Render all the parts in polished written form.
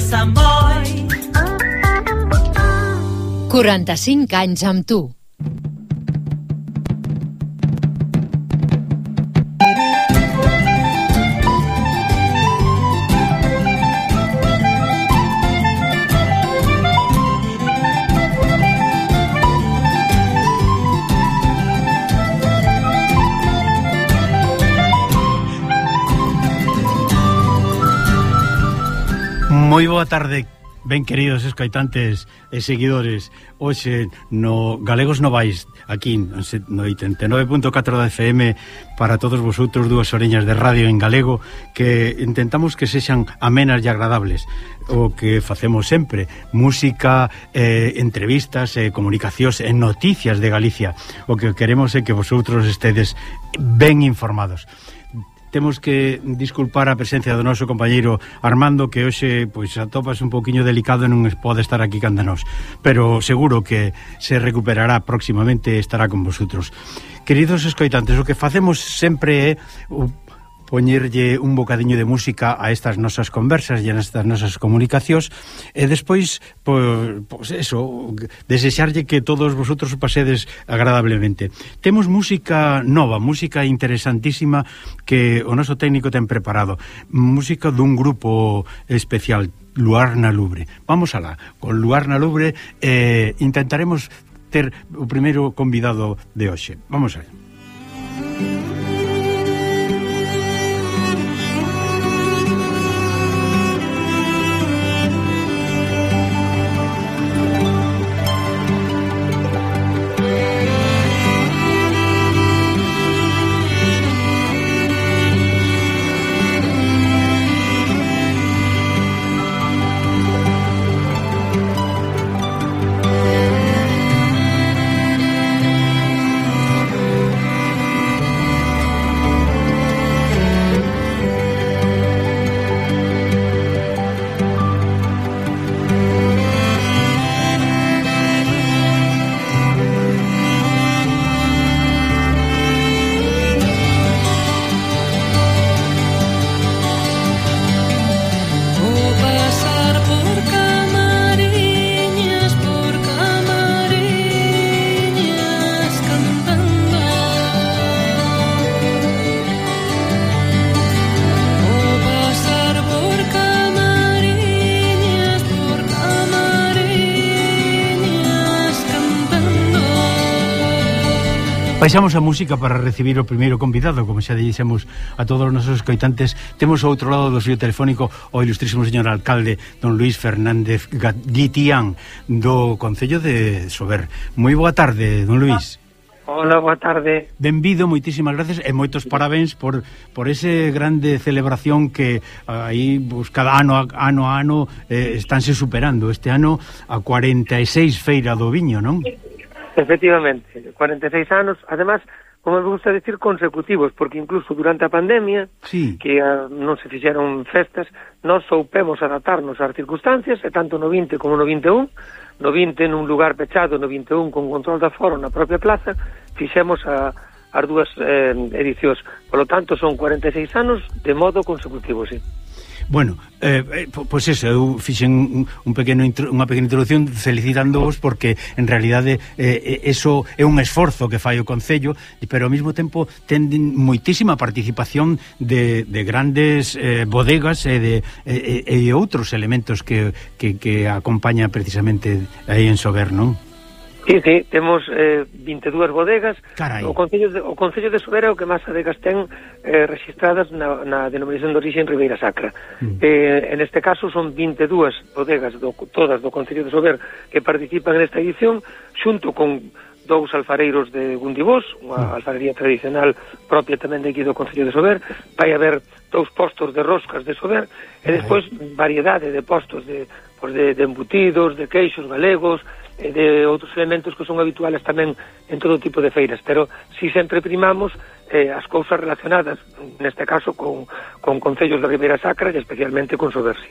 Sant Boi. 45 anys amb tu. Moi boa tarde, ben queridos escoitantes e seguidores. Hoxe no Galegos Novais, aquí no 89.4 da FM, para todos vosotros, dúas oreñas de radio en galego, que intentamos que sexan amenas e agradables. O que facemos sempre, música, entrevistas, comunicacións e noticias de Galicia. O que queremos é que vosotros estedes ben informados. Temos que disculpar a presencia do noso compañeiro Armando, que hoxe pois atopas un poquinho delicado e non pode estar aquí canda nós, pero seguro que se recuperará próximamente e estará con vosotros. Queridos escoitantes, o que facemos sempre é poñerlle un bocadiño de música a estas nosas conversas e a estas nosas comunicacións, e despois, pois eso, desexarlle que todos vosotros o pasedes agradablemente. Temos música nova, música interesantísima que o noso técnico ten preparado, música dun grupo especial, Luar na Lubre. Vamos alá, con Luar na Lubre intentaremos ter o primeiro convidado de hoxe. Vamos alá. Baixamos a música para recibir o primeiro convidado, como xa dixemos a todos os nosos escoitantes. Temos ao outro lado do fío telefónico o ilustrísimo señor alcalde, don Luís Fernández Guitián, do Concello de Sober. Moi boa tarde, don Luís. Hola, boa tarde. Benvido, moitísimas gracias e moitos parabéns por ese grande celebración que aí pues, cada ano a ano estánse superando. Este ano a 46 feira do viño, non? Efectivamente, 46 anos, además, como me gusta decir, consecutivos, porque incluso durante a pandemia, sí, que non se fixeron festas, nós soupemos adaptarnos ás circunstancias, e tanto no 20 como no 21, no 20 nun lugar pechado, no 21 con control de aforo na propia plaza, fixemos as dúas edicións. Por lo tanto, son 46 anos de modo consecutivo, sí. Bueno, pois eso, eu fixen unha pequena introducción felicitándoos porque en realidade eso é un esforzo que fai o Concello, pero ao mesmo tempo ten moitísima participación de grandes bodegas e outros elementos que acompañan precisamente aí en Sober, non? Sí, temos 22 bodegas. Carai. O Concello de Sober é o que máis adegas ten registradas na denominación de origen Ribeira Sacra. En este caso son 22 bodegas todas do Concello de Sober que participan nesta edición, xunto con dous alfareiros de Gundibós, unha alfarería tradicional propia tamén de aquí do Concello de Sober. Vai haber dous postos de roscas de Sober e despois variedade de postos de embutidos, de queixos galegos, e de outros elementos que son habituales tamén en todo tipo de feiras, pero si sempre primamos as cousas relacionadas, neste caso con concellos de Ribeira Sacra e especialmente con Sobersi.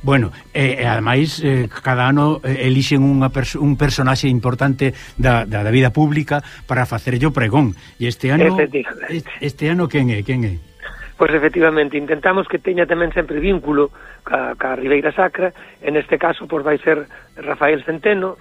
Bueno, ademais cada ano elixen un personaxe importante da vida pública para facerlle o pregón, e este ano quen é? Pois efectivamente, intentamos que teña tamén sempre vínculo ca Ribeira Sacra. En este caso, pois vai ser Rafa Centeno,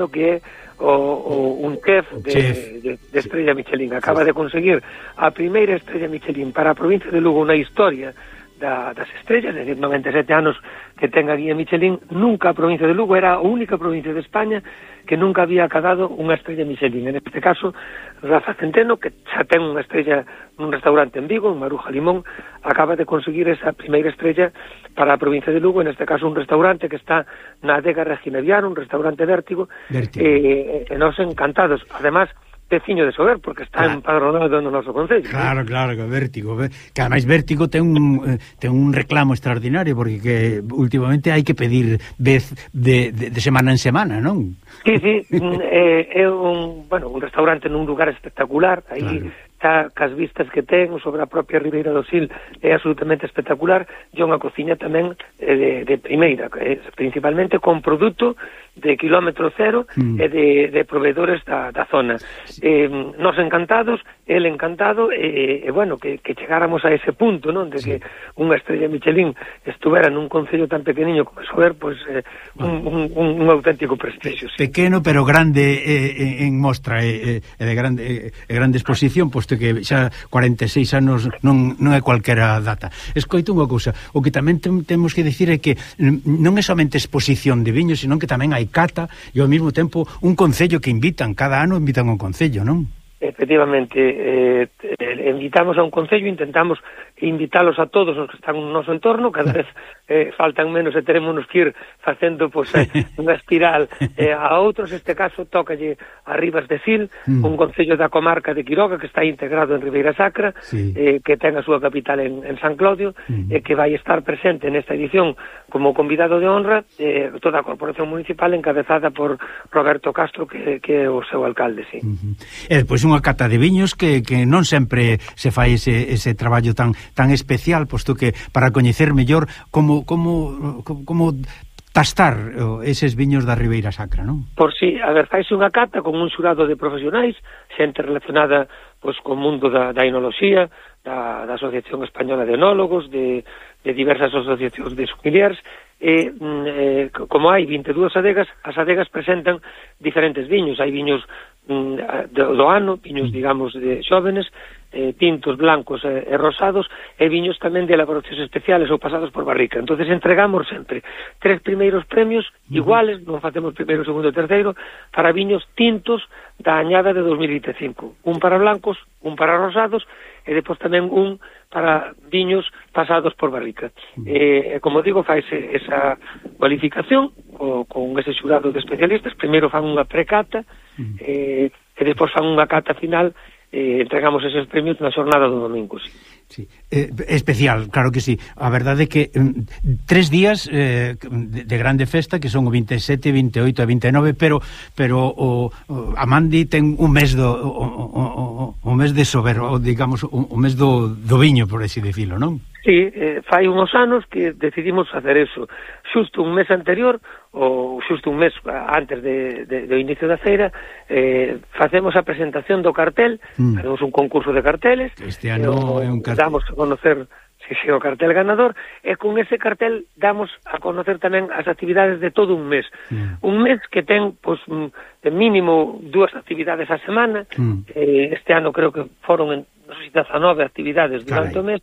que é un chef de estrella Michelin. Acaba de conseguir a primeira estrella Michelin para a provincia de Lugo na historia das estrellas, é dicir, 97 anos que ten a guía Michelin. Nunca a provincia de Lugo era a única provincia de España que nunca había acadado unha estrella Michelin. En este caso, Rafa Centeno, que xa ten unha estrella nun restaurante en Vigo, en Maruja Limón, acaba de conseguir esa primeira estrella para a provincia de Lugo, en este caso un restaurante que está na adega Regina Viana, un restaurante Vértigo. E nos encantados. Además, veciño de Sober, porque está empadronado no noso concello. Claro, que Vértigo, que ademais Vértigo ten un reclamo extraordinario, porque que últimamente hai que pedir vez de semana en semana, non? Sí, é un restaurante nun lugar espectacular, aí está cas vistas que ten sobre a propia Ribeira do Sil, é absolutamente espectacular. E unha cociña tamén de primeira, principalmente con produto de kilómetro cero e de proveedores da zona. Nos encantados, el encantado, bueno, que chegáramos a ese punto, non? De que unha estrella Michelin estuvera nun concello tan pequeniño como Sober, pois un auténtico prestixio. Sí. Pequeno pero grande en mostra e de grande exposición, posto que xa 46 anos non é cualquera data. Escoito unha cousa, o que tamén temos que dicir é que non é somente exposición de viños, senón que tamén hai cata e ao mesmo tempo un concello que cada ano invitan a un concello, non? Efectivamente, invitamos a un concello, intentamos invitalos a todos os que están no noso entorno, cada vez faltan menos e teremos que ir facendo unha espiral a outros. Este caso tócalle a Ribas de Sil, un concello da comarca de Quiroga que está integrado en Ribeira Sacra, que ten a súa capital en San Claudio, e que vai estar presente nesta edición como convidado de honra toda a corporación municipal encabezada por Roberto Castro, que é o seu alcalde, sí. E despois unha cata de viños que non sempre se fai ese traballo tan especial, posto que para coñecer mellor como tastar eses viños da Ribeira Sacra, non? Por si, a ver, faise unha cata con un xurado de profesionais, xente relacionada pois co mundo da enoloxía, da Asociación Española de Enólogos, de diversas asociacións de sommeliers, e como hai 22 adegas, as adegas presentan diferentes viños. Hai viños do ano, viños, digamos, de xóvenes, tintos, blancos e rosados, e viños tamén de elaboracións especiales ou pasados por barrica. Entonces entregamos sempre 3 primeiros premios iguales, non facemos primeiro, segundo e terceiro, para viños tintos da añada de 2025. Un para blancos, un para rosados, e depois tamén un para viños pasados por barrica. Como digo, faise esa cualificación con ese xurado de especialistas. Primeiro fan unha precata e depois fan unha cata final. Entregamos eses premios na xornada do domingo, sí. Sí. Especial, claro que sí. A verdade é que 3 días de grande festa, que son o 27, 28 e 29, pero a Mandi ten un mes o mes de Sober, digamos, o mes do viño, por así decirlo, non? Sí, fai uns anos que decidimos facer eso. Xusto un mes anterior, ou xusto un mes antes do inicio da feira, facemos a presentación do cartel, facemos un concurso de carteles. Este ano é un cartel. Damos a conocer o cartel ganador, e con ese cartel damos a conocer tamén as actividades de todo un mes. Un mes que ten, pois, de mínimo 2 actividades a semana. Este ano creo que foron 19 actividades durante o mes.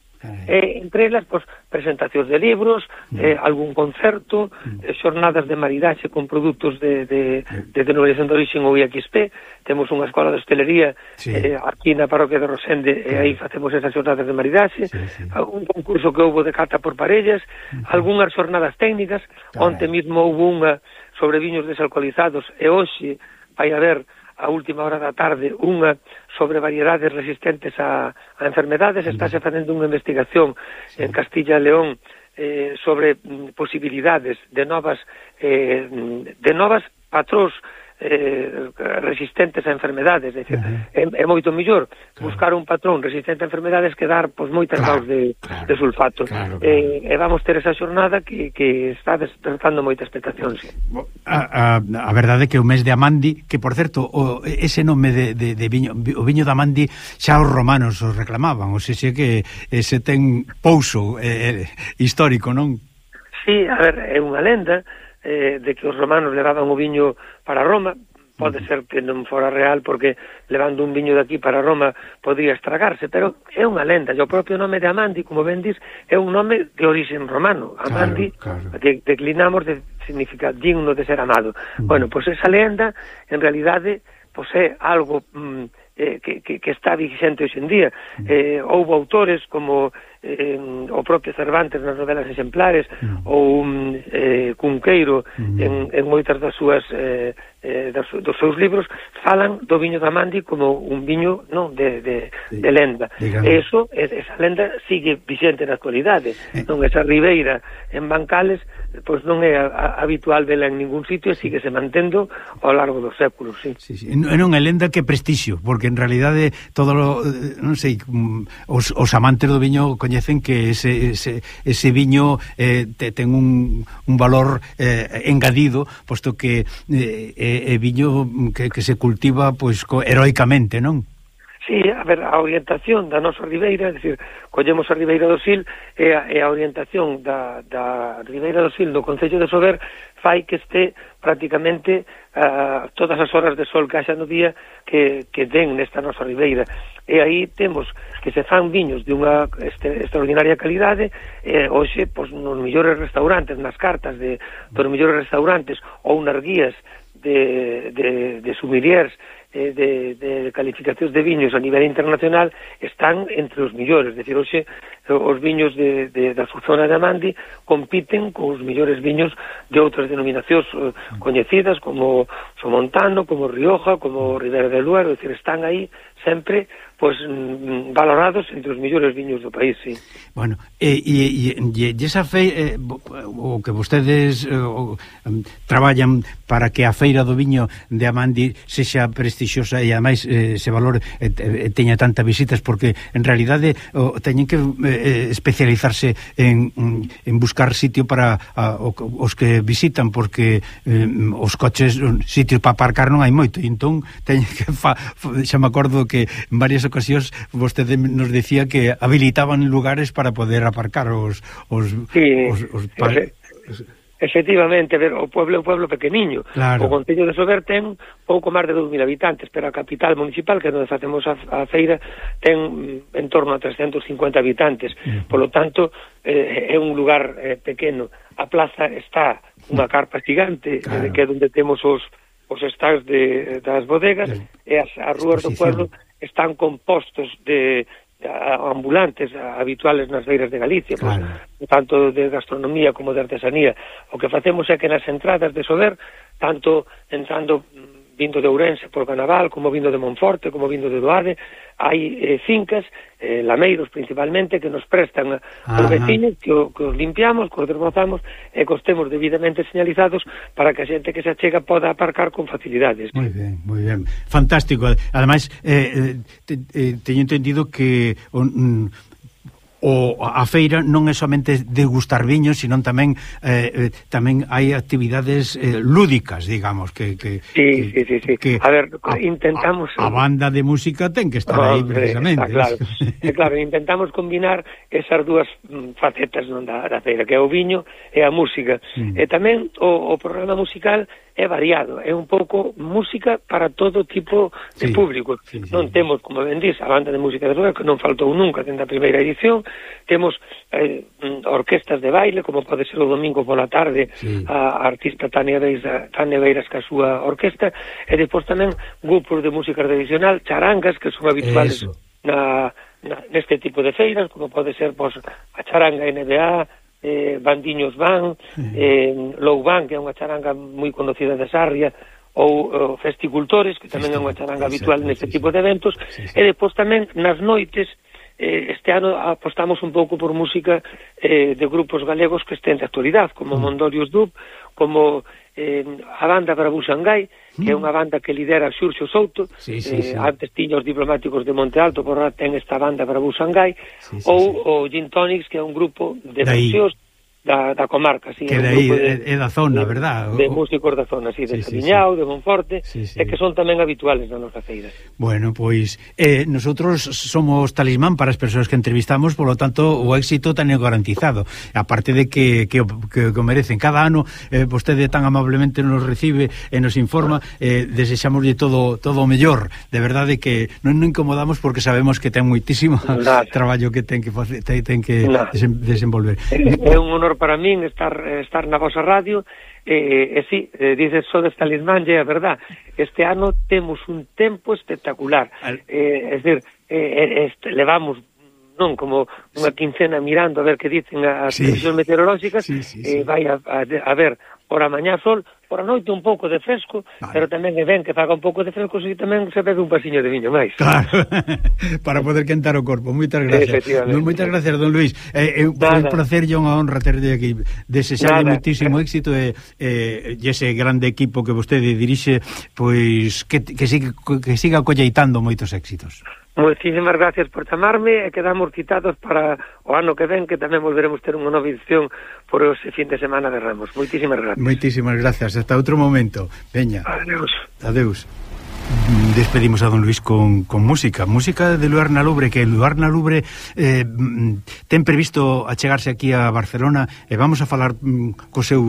Entre elas, pois, presentacións de libros, algún concerto, xornadas de maridaxe con produtos de denominación de origen ou IXP. Temos unha escola de hostelería aquí na parroquia de Rosende, e aí facemos esas xornadas de maridaxe. Un concurso que houve de cata por parellas, algunhas xornadas técnicas. Onte mesmo houve unha sobre viños desalcoholizados, e hoxe vai haber a última hora da tarde unha sobre variedades resistentes a enfermedades. Estáse facendo unha investigación en Castilla e León sobre posibilidades de novas patrós resistentes a enfermedades, é dicir, é moito mellor buscar un patrón resistente a enfermedades que dar moitas graus de sulfato. E vamos ter esa xornada que está despertando moita expectación. Sí. A verdade é que o mes de Amandi, que por certo ese nome de viño, o viño de Amandi xa os romanos os reclamaban, ou seja que ese ten pouso histórico, non? Sí, a ver, é unha lenda de que os romanos levaban o viño para Roma. Pode ser que non fora real porque levando un viño de aquí para Roma podría estragarse, pero é unha lenda. E o propio nome de Amandi, como ben dis, é un nome de orixen romano. Amandi, que declinamos de significa digno de ser amado. Bueno, pois esa lenda, en realidade, pois é algo que está vigente hoxe en día. Houve autores como o propio Cervantes nas novelas exemplares ou Cunqueiro en moitas das súas dos seus libros falan do viño de Amandi como un viño de lenda. Esa lenda sigue vigente na actualidade. Non, esa ribeira en Bancales pois non é habitual vela en ningún sitio e sigue se mantendo ao largo dos séculos. Sí. Non é lenda que prestixio, porque en realidade non sei, os amantes do viño coñecen que ese viño ten un valor engadido, posto que é viño que se cultiva pois heroicamente, non? Sí, a ver, a orientación da nosa ribeira, é dicir, collemos a ribeira do Sil e a orientación da ribeira do Sil do concello de Sober fai que este prácticamente todas as horas de sol que haxa no día que den nesta nosa ribeira. E aí temos que se fan viños de unha extraordinaria calidade, hoxe, pois, nos mellores restaurantes, nas cartas dos mellores restaurantes ou nas guías de sommeliers de calificacións de viños a nivel internacional están entre os millores, é dicir, hoxe os viños da zona de Amandi compiten cos millores viños de outras denominacións coñecidas como Somontano, como Rioja, como Ribera del Duero, é dicir, están aí sempre pois valorados entre os millores viños do país, sí. Bueno, e esa feira o que vostedes traballan para que a feira do viño de Amandi sexa prestixiosa e ademais se valore teña tantas visitas, porque en realidade teñen que especializarse en buscar sitio para os que visitan, porque os coches, sitios para aparcar non hai moito, e entón teñen que xa me acordo que en varias ocasións vostede nos decía que habilitaban lugares para poder aparcar os efectivamente, ver, o pueblo é un pueblo pequeniño. Claro. O concello de Sober ten pouco máis de 2.000 habitantes, pero a capital municipal, que é onde facemos a feira, ten en torno a 350 habitantes. Por lo tanto, é un lugar pequeno. A plaza está unha carpa gigante, claro, que é onde temos os stands das bodegas, e as rúas do pueblo están compostos de ambulantes habituales nas feiras de Galicia, claro, pues, tanto de gastronomía como de artesanía. O que facemos é que nas entradas de Sober, tanto entrando vindo de Ourense por Canaval, como vindo de Monforte, como vindo de Doade, hai fincas, lameiros principalmente, que nos prestan aos vecinos, que os limpiamos, que os desbrozamos e que os temos debidamente señalizados para que a xente que se achega poda aparcar con facilidades. Moi ben, fantástico. Ademais, teño entendido que a feira non é somente degustar viños, sino tamén hai actividades lúdicas, digamos, que a ver, intentamos a banda de música ten que estar aí precisamente. Claro, intentamos combinar esas dúas facetas da feira, que é o viño e a música. E tamén o programa musical é variado, é un pouco música para todo tipo de público. Non temos, como ben dís, a banda de música de Sober, que non faltou nunca dentro da primeira edición. Temos orquestas de baile, como pode ser o domingo pola tarde, a artista Tania Beiras ca súa orquesta, e depois tamén grupos de música tradicional, charangas, que son habituales neste tipo de feiras, como pode ser a charanga NBA, Bandiños Van, Lou Van, que é unha charanga moi conocida de Sarria, ou Festicultores, que tamén é unha charanga habitual neste tipo de eventos, e depois tamén nas noites, este ano apostamos un pouco por música de grupos galegos que estén de actualidade, como Mondorios Dub, como a banda Brabú Xangai, que é unha banda que lidera Xurxo Souto, antes tiña os Diplomáticos de Monte Alto, por ahora ten esta banda para Busangai, ou o Gin Tonics, que é un grupo de músicos da comarca, que de aí é da zona, verdad? De músicos da zona, de Sabiñao, de Monforte, e que son tamén habituales na nosa feira. Bueno, pois nosotros somos talismán para as persoas que entrevistamos, polo tanto o éxito ten garantizado, aparte de que o merecen. Cada ano vostede tan amablemente nos recibe e nos informa, desexamoslle todo o mellor, de verdade que non incomodamos porque sabemos que ten moitísimo traballo que ten que facer, ten que desenvolver. É un honor para min estar na vosa radio, dices sodes talismán, é a verdad. Este ano temos un tempo espectacular, é dicir, levamos non como unha quincena mirando a ver que dicen as previsións meteorolóxicas, vai a ver por a mañá sol, por a noite un pouco de fresco, pero tamén é ben que faga un pouco de fresco, e tamén se bebe un pasiño de viño máis. Claro, para poder quentar o corpo. Moitas gracias. Moitas gracias, don Luís. É un placer e unha honra terde aquí. Desexarle moitísimo éxito e ese grande equipo que vostede dirixe, pois que siga colleitando moitos éxitos. Moitísimas gracias por chamarme e quedamos citados para o ano que ven, que tamén volveremos ter unha nova edición por ese fin de semana de Ramos. Moitísimas gracias. Moitísimas gracias. Hasta outro momento. Veña. Adeus. Despedimos a don Luís con música de Luarna Lubre, que Luarna Lubre ten previsto achegarse aquí a Barcelona e vamos a falar co seu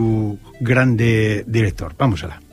grande director. Vamos alá.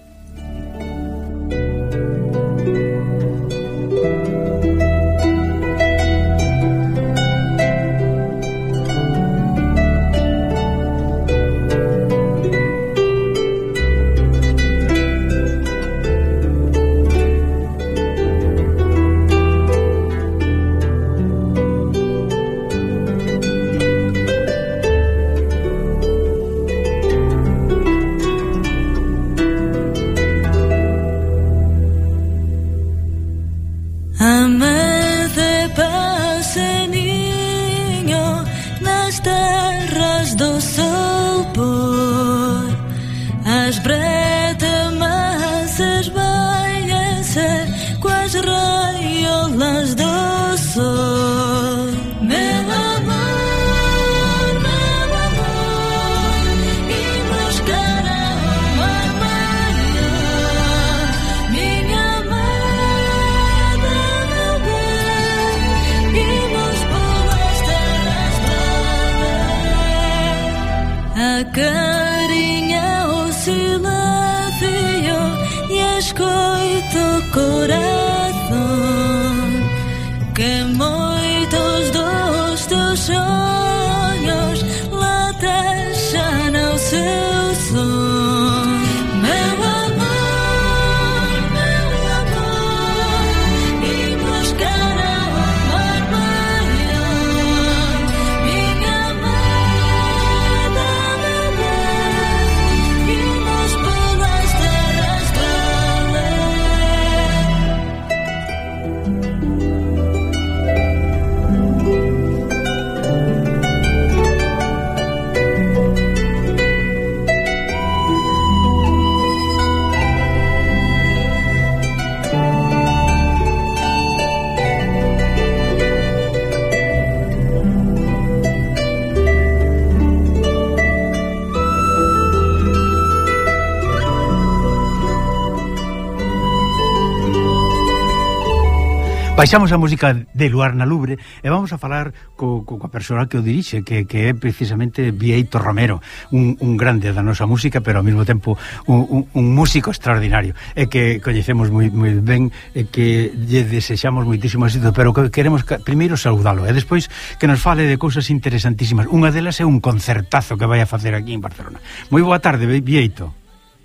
Baixamos a música de Luarna Lubre e vamos a falar coa persoa que o dirixe, que é precisamente Bieito Romero, un grande da nosa música, pero ao mesmo tempo un músico extraordinario, e que coñecemos moi ben, e que lle desexamos moitísimo éxito, pero que queremos primeiro saudalo e despois que nos fale de cousas interesantísimas. Unha delas é un concertazo que vai a facer aquí en Barcelona. Moi boa tarde, Bieito.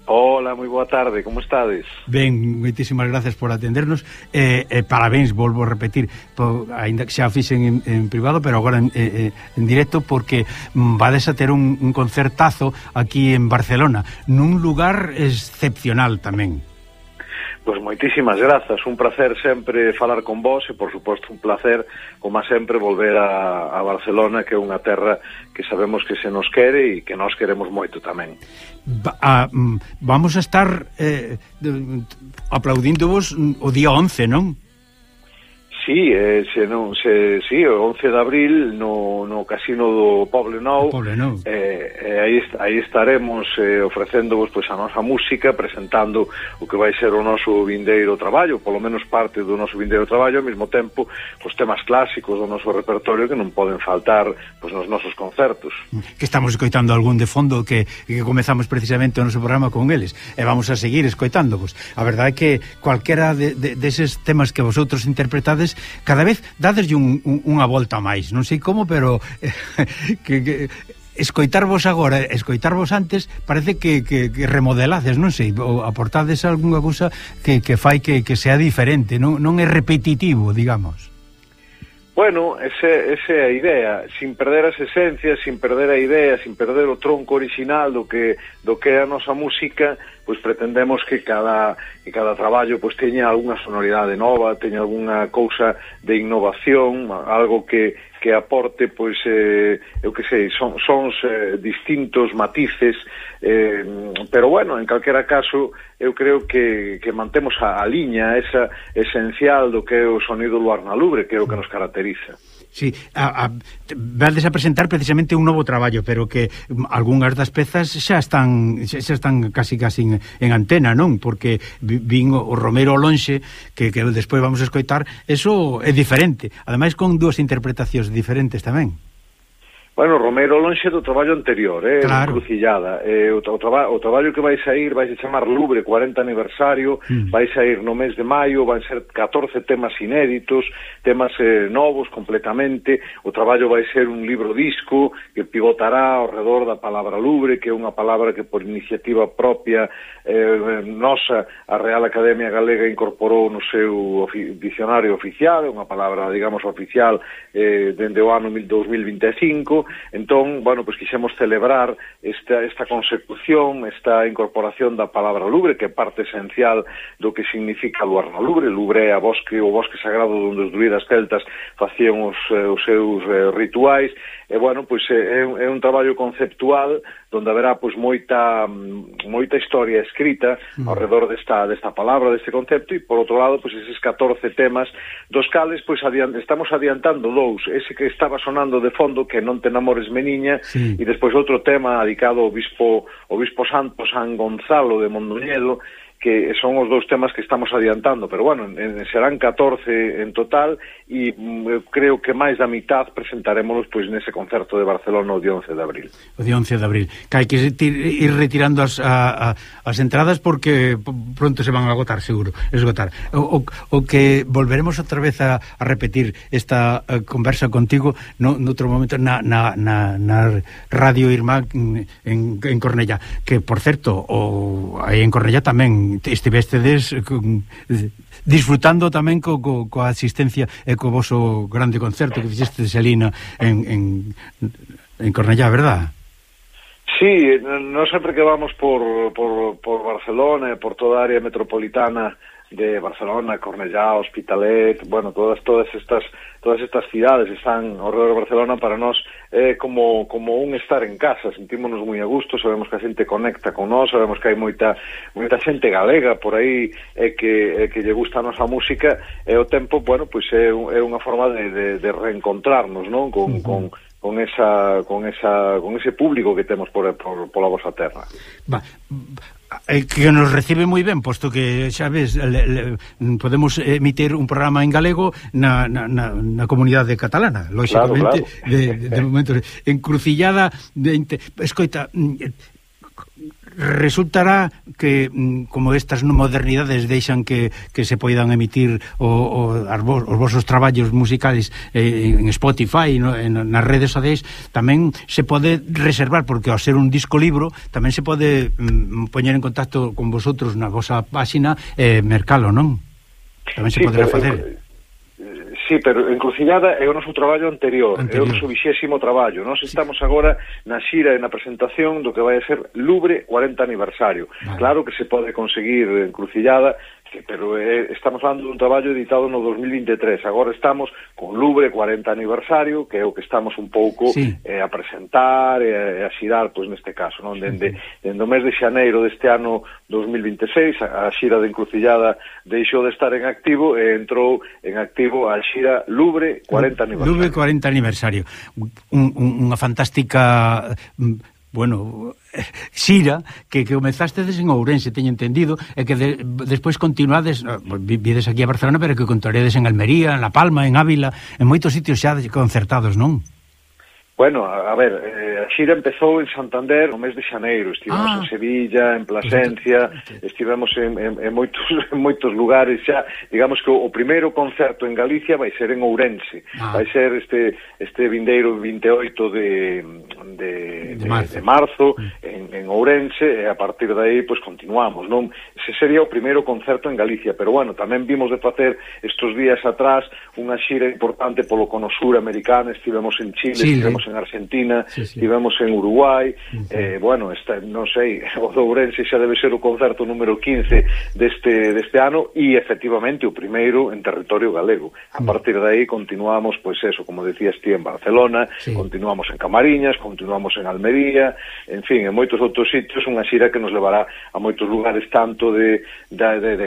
Hola, moi boa tarde, como estades? Ben, moitísimas gracias por atendernos parabéns, volvo a repetir, ainda que xa fixen en privado, pero agora en directo, porque vades a ter un concertazo aquí en Barcelona, nun lugar excepcional tamén. Pois moitísimas grazas, un placer sempre falar con vos e, por suposto, un placer, como sempre, volver a Barcelona, que é unha terra que sabemos que se nos quere e que nós queremos moito tamén. Vamos a estar aplaudíndovos o día 11, non? Sí, sí, o 11 de abril no Casino do Poblenou, aí estaremos ofrecéndovos pois a nosa música, presentando o que vai ser o noso vindeiro traballo, polo menos parte do noso vindeiro traballo, ao mesmo tempo os temas clásicos do noso repertorio que non poden faltar pois nos nosos concertos. Que estamos escoitando algún de fondo que comezamos precisamente o noso programa con eles, e vamos a seguir escoitándovos. A verdade é que cualquera deses temas que vosotros interpretades cada vez dadeslle unha volta máis, non sei como, pero que escoitarvos agora, escoitarvos antes, parece que remodelades, non sei, aportades algunha cousa que fai que sea diferente, non é repetitivo, digamos. Bueno, esa é a idea, sin perder as esencias, sin perder a idea, sin perder o tronco original do que é a nosa música, pois pretendemos que cada traballo pois teña algunha sonoridade nova, teña algunha cousa de innovación, algo que aporte, pois, eu que sei, sons distintos, matices, pero bueno, en calquera caso, eu creo que mantemos a liña esa esencial do que é o sonido do Luar na Lubre, que é o que nos caracteriza. Sí, vades a presentar precisamente un novo traballo, pero que algunhas das pezas xa están casi en antena, non? Porque vin o Romero Lonxe, que despois vamos a escoitar, eso é diferente, ademais con dúas interpretacións diferentes tamén. Bueno, Romero lonxe do traballo anterior, claro. Encrucillada. O traballo que vai sair vai se chamar Lubre 40 aniversario, vai sair no mes de maio, van ser 14 temas inéditos, temas novos completamente. O traballo vai ser un libro disco que pivotará ao redor da palabra Lubre, que é unha palabra que por iniciativa propia nosa, a Real Academia Galega incorporou no seu dicionario oficial, unha palabra, digamos, oficial dende o ano 2025. Entón, bueno, pois quixemos celebrar esta consecución, esta incorporación da palabra Lubre, que é parte esencial do que significa Luar na Lubre. Lubre é o bosque sagrado onde os druidas celtas facían os seus rituais, e, bueno, pois é un traballo conceptual onde haberá pois moita historia escrita ao redor desta palabra, deste concepto, e por outro lado, pois eses 14 temas, dos cales pois estamos adiantando dous, ese que estaba sonando de fondo, que non te namores meniña, sí. E despois outro tema dedicado ao bispo santo San Gonzalo de Mondoñedo, que son os dous temas que estamos adiantando, pero bueno, serán 14 en total, e creo que máis da mitad presentaremos pois nese concerto de Barcelona o día 11 de abril. O día 11 de abril. Que hai que ir retirando as entradas porque pronto se van a agotar, seguro. O que volveremos outra vez a repetir esta conversa contigo noutro momento na Radio Irmá en Cornellá, que, por certo, aí en Cornellá tamén estivestedes disfrutando tamén coa asistencia e co voso grande concerto que fixestes ali en Cornellá, verdad? Sí, non sempre que vamos por Barcelona e por toda a área metropolitana de Barcelona, Cornellá, Hospitalet, bueno, todas estas cidades están ao redor de Barcelona. Para nós é como un estar en casa, sentímonos moi a gusto, sabemos que a xente conecta con nós, sabemos que hai moita xente galega por aí que lle gusta a nosa música, e o tempo, bueno, pois é unha forma de reencontrarnos, non? Con ese público que temos pola vosa terra. Que nos recibe moi ben, posto que, xa ves, podemos emitir un programa en galego na comunidade catalana, lóxicamente, claro. De momento. Encrucillada, escoita, resultará que, como estas modernidades deixan que se poidan emitir os vosos traballos musicales en Spotify, nas redes sociais, tamén se pode reservar, porque ao ser un disco libro tamén se pode poñer en contacto con vosotros na vosa páxina e mercalo, non? Tamén se poderá facer. Sí, pero Encrucillada é o noso traballo anterior. É o noso 20º traballo. Nós estamos agora na xira e na presentación do que vai a ser Lubre 40 aniversario. Vale. Claro que se pode conseguir Encrucillada, pero estamos falando dun traballo editado no 2023. Agora estamos con Lubre 40 aniversario, que é o que estamos un pouco a presentar e a xirar, pois neste caso, non? Dende o mes de xaneiro deste ano 2026, a xira de Encrucillada deixou de estar en activo e entrou en activo a xira Lubre 40 aniversario. Lubre 40 aniversario. Unha fantástica... bueno, xira que comezastedes en Ourense, teño entendido, e que despois continuades, vides aquí a Barcelona, pero que continuaredes en Almería, en La Palma, en Ávila, en moitos sitios xa concertados, non? Bueno, a ver, a xira empezou en Santander no mes de xaneiro, estivemos en Sevilla, en Plasencia, estivemos en moitos lugares xa, digamos que o primeiro concerto en Galicia vai ser en Ourense, vai ser este vindeiro 28 de marzo en Ourense, e a partir de aí pues continuamos, non? Ese sería o primeiro concerto en Galicia, pero bueno, tamén vimos de facer estos días atrás unha xira importante polo cono sur americano, estivemos en Chile, estivemos en Argentina, estivemos en Uruguai, bueno, non sei, o de Ourense xa debe ser o concerto número 15 deste ano, e efectivamente o primeiro en territorio galego. A partir de aí continuamos, pois eso, como decías ti, en Barcelona, continuamos en Camariñas, continuamos en Almería, en fin, en moitos outros sitios, unha xira que nos levará a moitos lugares tanto de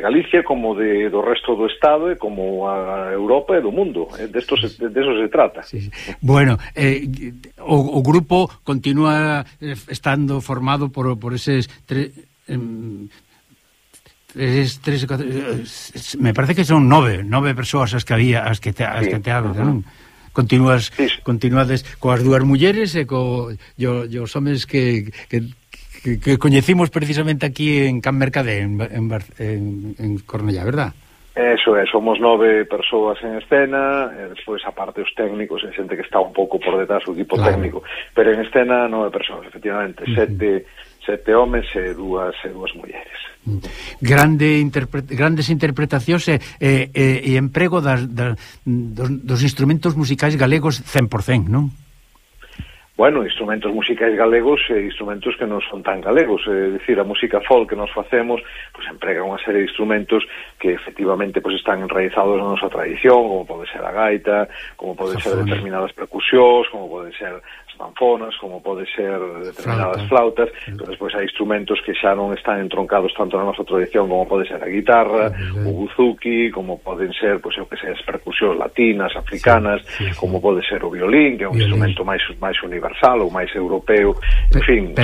Galicia como do resto do Estado e como a Europa e do mundo. De eso se trata. Bueno, o grupo continúa estando formado por eses tres, me parece que son nove persoas as que había, as que te hablo, non? Continuades coas dúas mulleres e os homes que coñecimos precisamente aquí en Can Mercadé, en Cornellá, verdad? Eso é, somos 9 persoas en escena, e despois aparte os técnicos, e xente que está un pouco por detrás o equipo técnico, pero en escena 9 persoas, efectivamente, sete homes e dúas mulleres. Grandes interpretacións e emprego dos instrumentos musicais galegos 100%, non? Bueno, instrumentos musicais galegos e instrumentos que non son tan galegos, é dicir, a música folk que nos facemos, pues emprega unha serie de instrumentos que efectivamente pues están enraizados na nosa tradición, como pode ser a gaita, como pode ser determinadas percusións, como pode ser zanfonas, como pode ser determinadas flautas, pero despois hai instrumentos que xa non están entroncados tanto na nosa tradición, como pode ser a guitarra, o buzuki, como poden ser, pois eu que sei, as percusións latinas, africanas, como pode ser o violín, que é un instrumento máis universal ou máis europeo, en fin,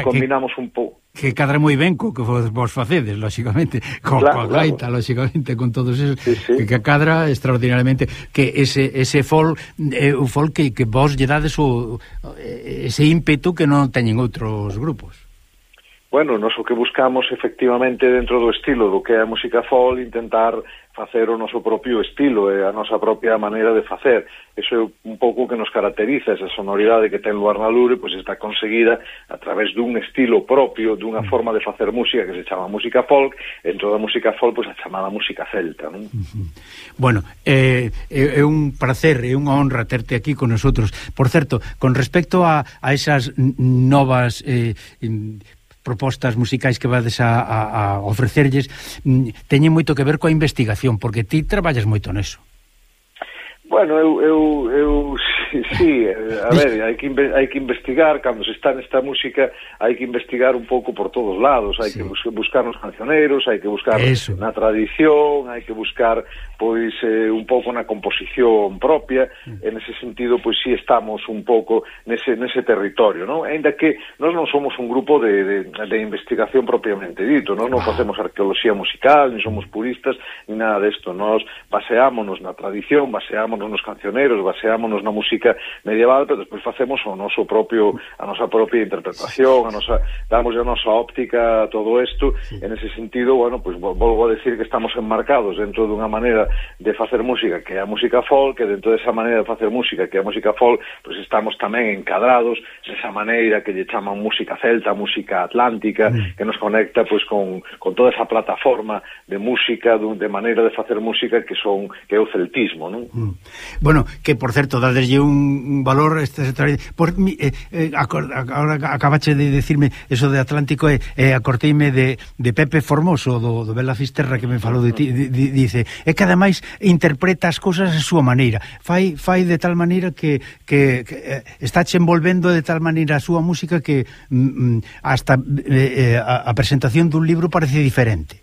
combinamos un pouco. Que cadra moi ben co que vos facedes, lóxicamente, coa gaita, lóxicamente, con todos esos, que cadra extraordinariamente, que ese folk, o folk que vos lle dades ese ímpetu que non teñen outros grupos. Bueno, nos o que buscamos efectivamente dentro do estilo do que é a música folk, intentar facer o noso propio estilo e a nosa propia maneira de facer. Eso é un pouco que nos caracteriza, esa sonoridade que ten Luar na Lubre, pois está conseguida a través dun estilo propio, dunha forma de facer música que se chama música folk, e dentro da música folk, pois a chamada música celta, non? Bueno, é un placer, é unha honra terte aquí con nosotros. Por certo, con respecto a esas novas propostas musicais que vades a ofrecerlles, teñen moito que ver coa investigación, porque ti traballas moito neso. Bueno, eu sí, a ver, hai que investigar, cando se está nesta música, hai que investigar un pouco por todos lados, hai que buscar nos cancioneiros, hai que buscar na tradición, hai que buscar, pois, un pouco na composición propia, en ese sentido, pois, sí estamos un pouco nese territorio, non? Ainda que nós non somos un grupo de investigación propiamente dito, non facemos arqueoloxía musical, ni somos puristas, ni nada desto, nós baseámonos na tradición, baseámonos nos cancioneros, baseámonos na música medieval, pero despois facemos a nosa propia interpretación, damos a nosa óptica a todo isto. En ese sentido, bueno, pues volvo a decir que estamos enmarcados dentro dunha maneira de facer música que é a música folk, e dentro desa maneira de facer música que é a música folk, pues estamos tamén encadrados nesa maneira que lle chaman música celta, música atlántica, que nos conecta pues con toda esa plataforma de música, de maneira de facer música que é o celtismo, non? Bueno, que por certo, dadeslle un valor agora acabache de decirme eso de Atlántico acorteime de Pepe Formoso do Bela Fisterra que me falou de ti, dice, é que ademais interpreta as cousas a súa maneira, fai de tal maneira que estáche envolvendo de tal maneira a súa música que hasta a presentación dun libro parece diferente.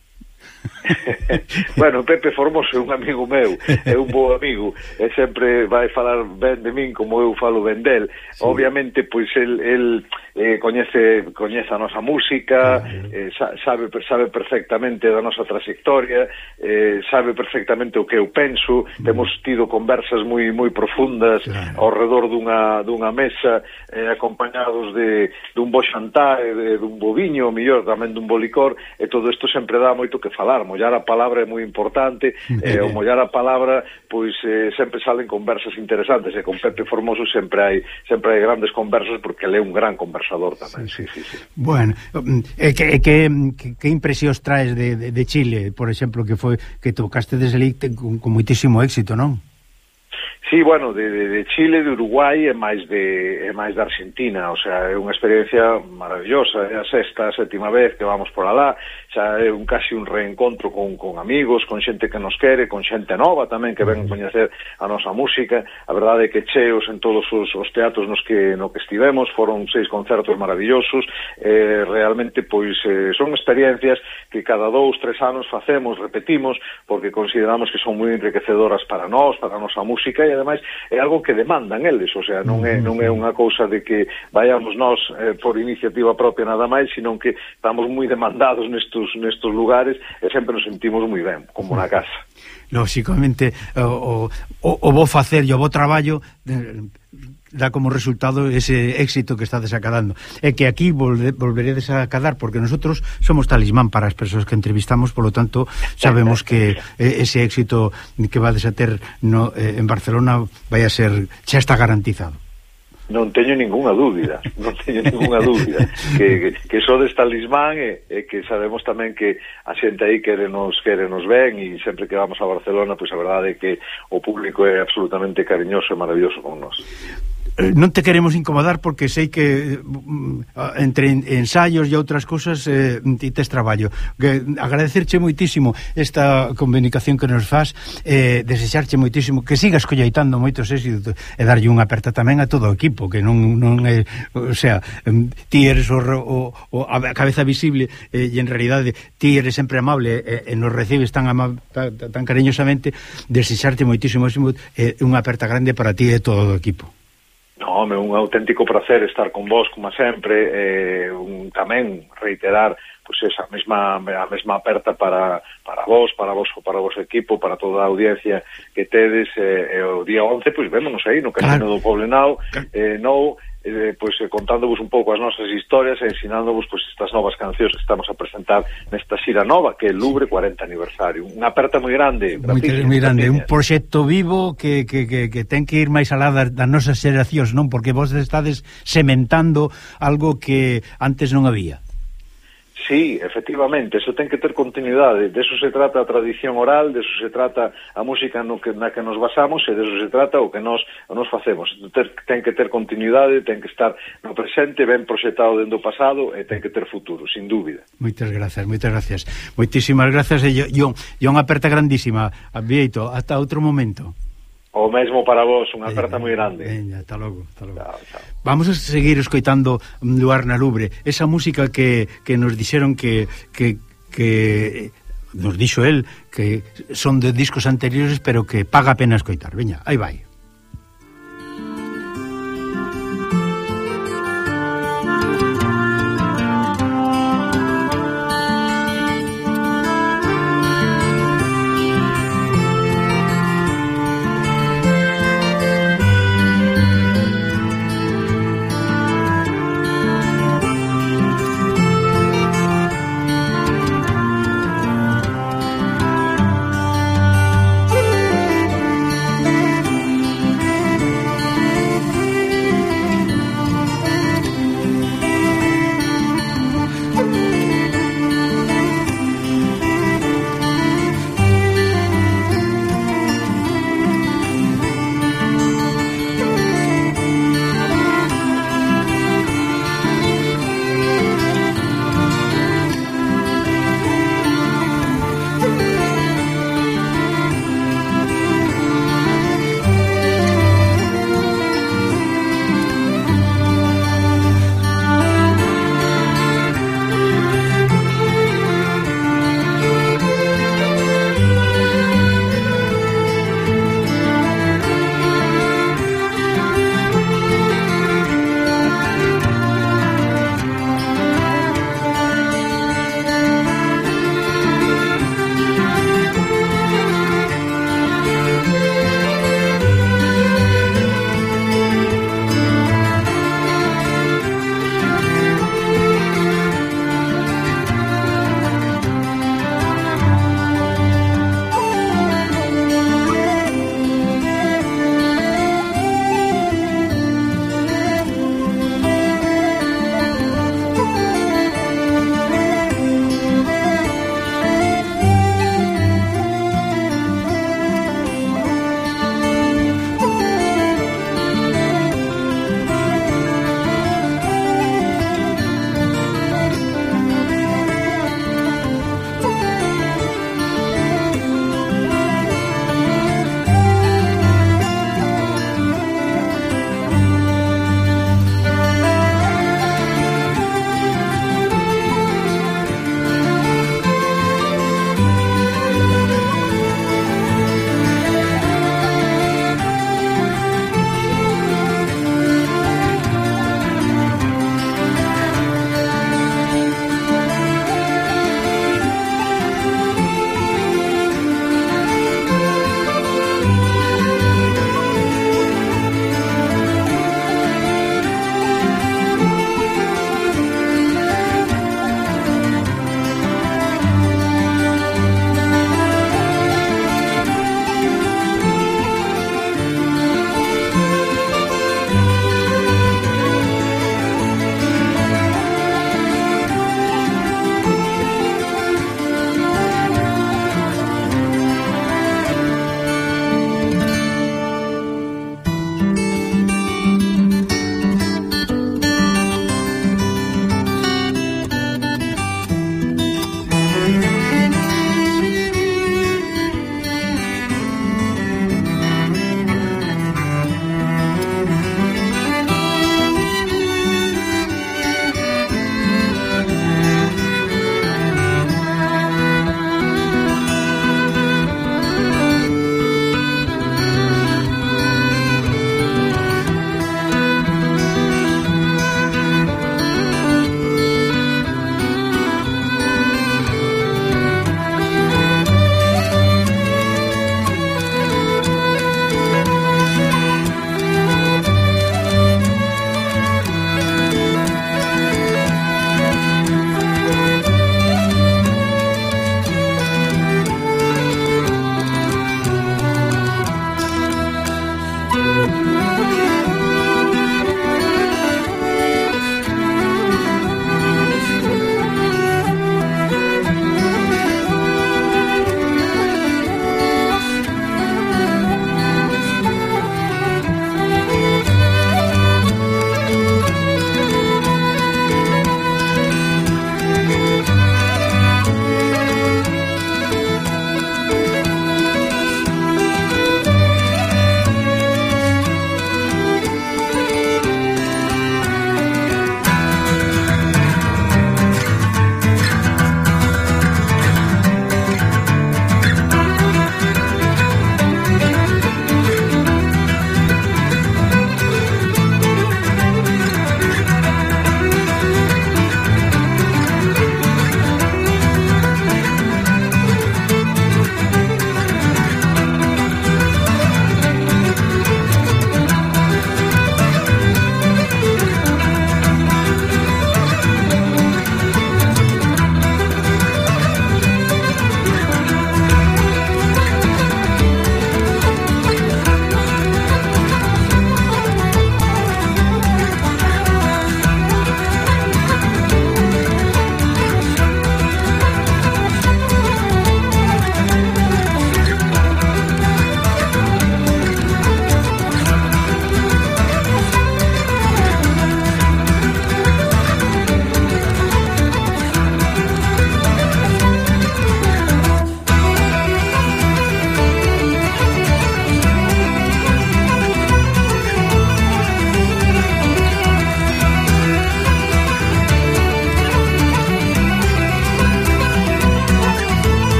Bueno, Pepe Formoso é un amigo meu, é un bo amigo, e sempre vai falar ben de min como eu falo ben del. Sí. Obviamente, pois el coñece a nosa música, sabe perfectamente da nosa trayectoria, sabe perfectamente o que eu penso. Temos tido conversas moi profundas ao redor dunha mesa, acompañados dun bo xantar, dun bo viño, o mellor tamén dun bo licor, e todo isto sempre dá moito que falar. Mollar a palabra é moi importante, o mollar a palabra, pois sempre salen conversas interesantes, e con Pepe Formoso sempre hai grandes conversas, porque ele é un gran conversador tamén. Sí. Bueno, que impresións traes de Chile, por exemplo, que tocaste desde ali con moitísimo éxito, non? Sí, bueno, de Chile, de Uruguai e máis de Argentina, o sea, é unha experiencia maravillosa, é a sétima vez que vamos por alá, xa é casi un reencontro con amigos, con xente que nos quere, con xente nova tamén que ven coñecer a nosa música. A verdade é que cheos en todos os teatros no que estivemos, foron 6 concertos maravillosos, realmente pois son experiencias que cada 2-3 anos facemos, repetimos, porque consideramos que son moi enriquecedoras para nós, para a nosa música, e ademais é algo que demandan eles, o sea, non é unha cousa de que vayamos nós por iniciativa propia nada máis, sino que estamos moi demandados nestos lugares e sempre nos sentimos moi ben, como na casa. Lóxicamente, o bo facer e o bo traballo dá como resultado ese éxito que estades acadando, e que aquí volveredes a acadar, porque nosotros somos talismán para as persoas que entrevistamos, polo tanto sabemos que ese éxito que vades a ter en Barcelona vai a ser, xa está garantizado. Non teño ninguna dúbida que sodes talismán, e que sabemos tamén que a xente aí querenos ben, e sempre que vamos a Barcelona, pois a verdade é que o público é absolutamente cariñoso e maravilloso con nós. Non te queremos incomodar porque sei que entre ensaios e outras cousas ti tes traballo. Agradecerche moitísimo esta comunicación que nos faz, desexarche moitísimo que sigas colleitando moitos éxitos e darlle unha aperta tamén a todo o equipo, que non é, o sea, ti eres a cabeza visible, e en realidade ti eres sempre amable e nos recibes tan cariñosamente. Desexarte moitísimo unha aperta grande para ti e todo o equipo. No, é un auténtico placer estar con vos, como sempre, tamén reiterar pois esa mesma aperta para vos, para o vosso equipo, para toda a audiencia que tedes, o día 11, pois vémonos aí no Casino do Poblenou, pois contándovos un pouco as nosas historias e ensinándovos pois estas novas cancións que estamos a presentar nesta xira nova, que é Lubre 40 aniversario. Unha aperta moi grande, moi grande, un proxecto vivo que ten que ir máis alá das nosas xeracións, non? Porque vos estades sementando algo que antes non había. Sí, efectivamente, eso ten que ter continuidade, de eso se trata a tradición oral, de eso se trata a música na que nos basamos, e de eso se trata o que nos facemos. Ten que ter continuidade, ten que estar no presente, ben proxectado dentro do pasado, e ten que ter futuro, sin dúbida. Moitas gracias. Moitísimas gracias, e unha aperta grandísima. Vieito, ata outro momento. O mesmo para vos, unha aperta moi grande. Veña, ata logo. Chao. Vamos a seguir escoitando Luar na Lubre, esa música que nos dixeron que nos dixo el que son de discos anteriores, pero que paga a pena escoitar. Veña, aí vai.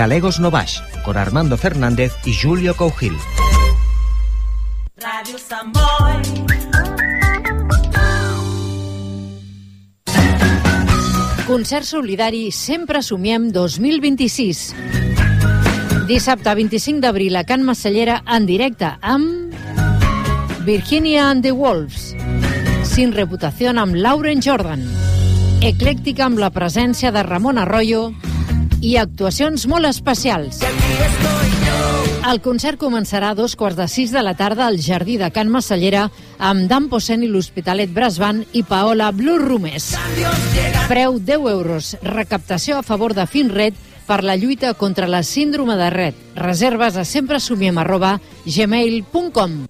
Galegos no Baix, con Armando Fernández y Julio Cougil. Radio Samboy. Concert solidari Sempre Somiem 2026. Dissabte 25 d'abril a Can Massallera en directe amb Virginia and the Wolves, Sin Reputación amb Lauren Jordan, Eclèctica amb la presència de Ramon Arroyo i actuacions molt especials. El concert començarà a 5:45 de la tarda al Jardí de Can Massallera amb Dan Posen i l'Hospitalet Brass Band i Paola Blue Rumes. Preu 10 euros. Recaptació a favor de Finred per la lluita contra la síndrome de Rett. Reserves a sempresomiem@gmail.com.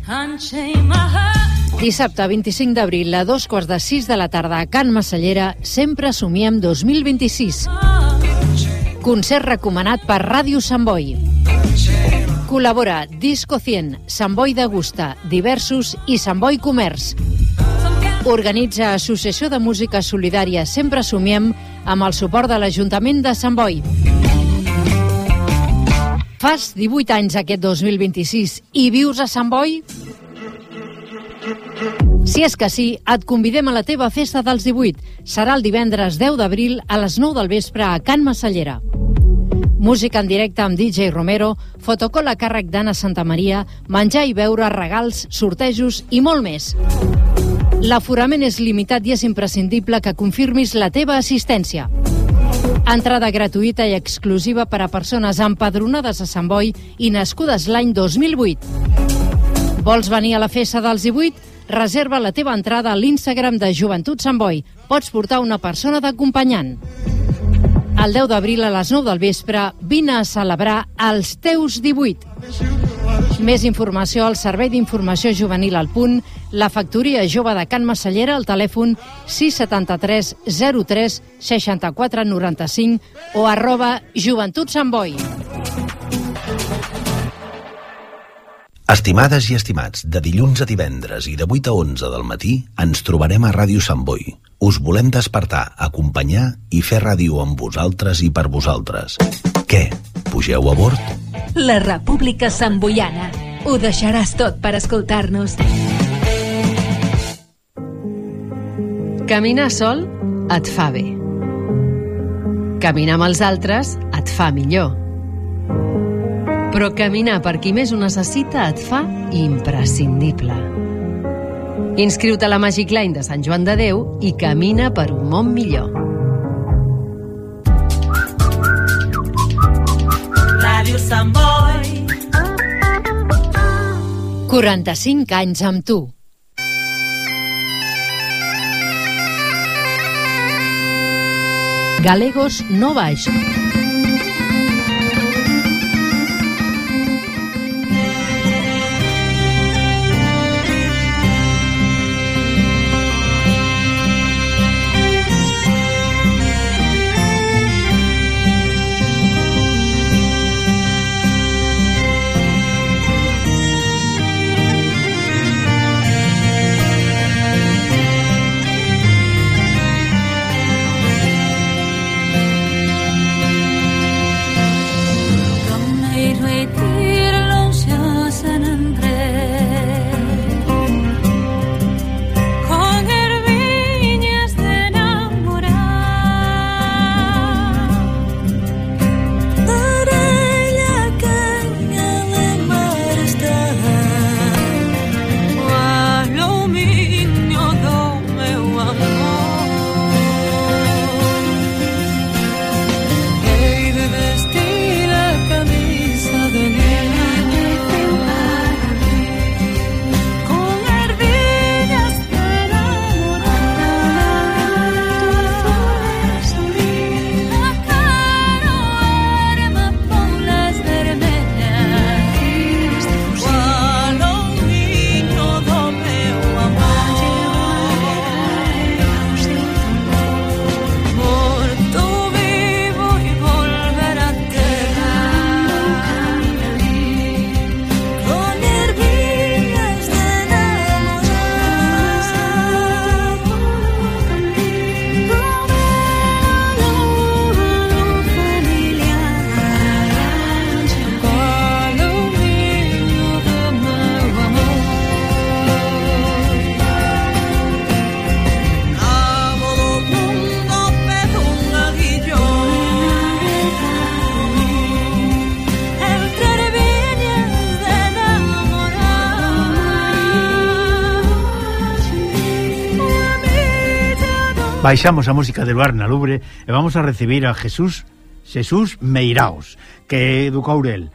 Dissabte 25 d'abril a 5:45 de la tarda a Can Massallera, Sempre Somiem 2026. Concert recomanat per Ràdio Sant Boi. Col·labora Disco 100, Sant Boi Degusta, Diversos i Sant Boi Comerç. Organitza Associació de Música Solidària Sempre Somiem amb el suport de l'Ajuntament de Sant Boi. Fas 18 anys aquest 2026 i vius a Sant Boi? Si és que sí, et convidem a la teva festa dels 18. Serà el divendres 10 d'abril a les 9 del vespre a Can Massallera. Música en directe amb DJ Romero, fotocol a càrrec d'Anna Santamaria, menjar i beure, regals, sortejos i molt més. L'aforament és limitat i és imprescindible que confirmis la teva assistència. Entrada gratuïta i exclusiva per a persones empadronades a Sant Boi i nascudes l'any 2008. Vols venir a la festa dels 18? Reserva la teva entrada a l'Instagram de Joventut Sant Boi. Pots portar una persona d'acompanyant. El 10 d'abril a les 9 del vespre vine a celebrar els teus 18. Més informació al Servei d'Informació Juvenil al Punt, la Factoria Jove de Can Massallera al telèfon 673 03 64 95 o @Joventut Sant Boi. Estimades i estimats, de dilluns a divendres i de 8 a 11 del matí ens trobarem a Ràdio Sant Boi. Us volem despertar, acompanyar i fer ràdio amb vosaltres i per vosaltres. Què? Pugeu a bord? La República Santboiana. Ho deixaràs tot per escoltar-nos. Caminar sol et fa bé. Caminar amb els altres et fa millor. Però caminar per qui més ho necessita et fa imprescindible. Inscriu-te a la Magic Line de Sant Joan de Déu i camina per un món millor. Ràdio Sant Boi. 45 anys amb tu. Galegos no Baix. Baixamos a música de Luar na Lubre e vamos a recibir a Jesús Meiraos, que é do Courel.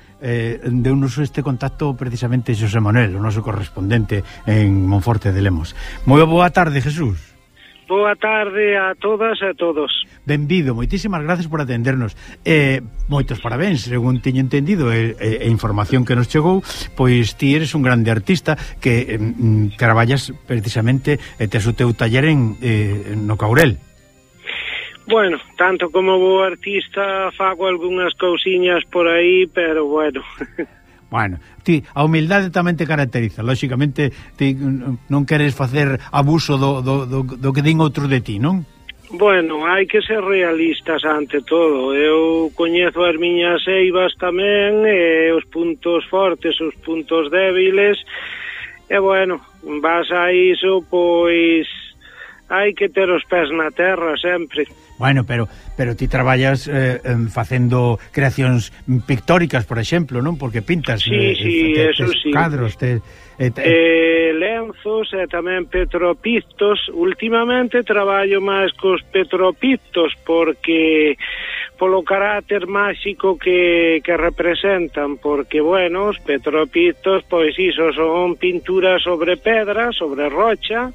Deu-nos este contacto precisamente Xosé Manuel, o noso correspondente en Monforte de Lemos. Moi boa tarde, Jesús. Boa tarde a todas e a todos. Benvido, moitísimas gracias por atendernos. Moitos parabéns, según teño entendido e información que nos chegou, pois ti eres un grande artista que traballas precisamente e tes o teu taller no Courel. Bueno, tanto como bo artista fago algunhas cousiñas por aí, pero bueno. Bueno, ti, a humildade tamén te caracteriza. Lóxicamente, ti non queres facer abuso do que din outros de ti, non? Bueno, hai que ser realistas ante todo. Eu coñezo as miñas eivas tamén, os puntos fortes, os puntos débiles, e bueno, vas a iso, pois hai que ter os pés na terra sempre. Bueno, pero ti traballas facendo creacións pictóricas, por exemplo, non? Porque pintas eso sí. Cadros, lenzos e tamén petropictos. Últimamente traballo máis cos petropictos porque polo carácter máxico que representan, porque, bueno, os petropictos, pois iso son pinturas sobre pedra, sobre rocha,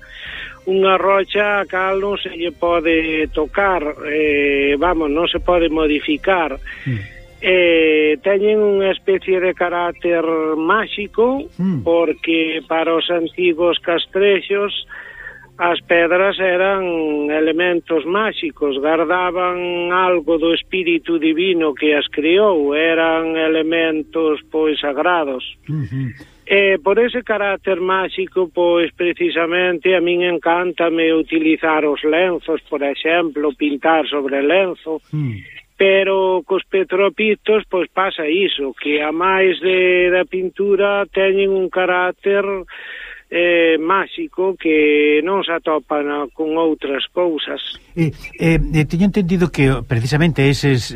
unha rocha a cal non se lle pode tocar, non se pode modificar. Teñen unha especie de carácter máxico, porque para os antigos castrexos as pedras eran elementos máxicos, guardaban algo do espírito divino que as criou, eran elementos pois sagrados. Por ese carácter máxico, pois precisamente a min encántame utilizar os lenzos, por exemplo, pintar sobre lenzo, pero cos petropictos pois pasa iso, que a máis da pintura teñen un carácter máxico que non se atopan con outras cousas. Teño entendido que precisamente eses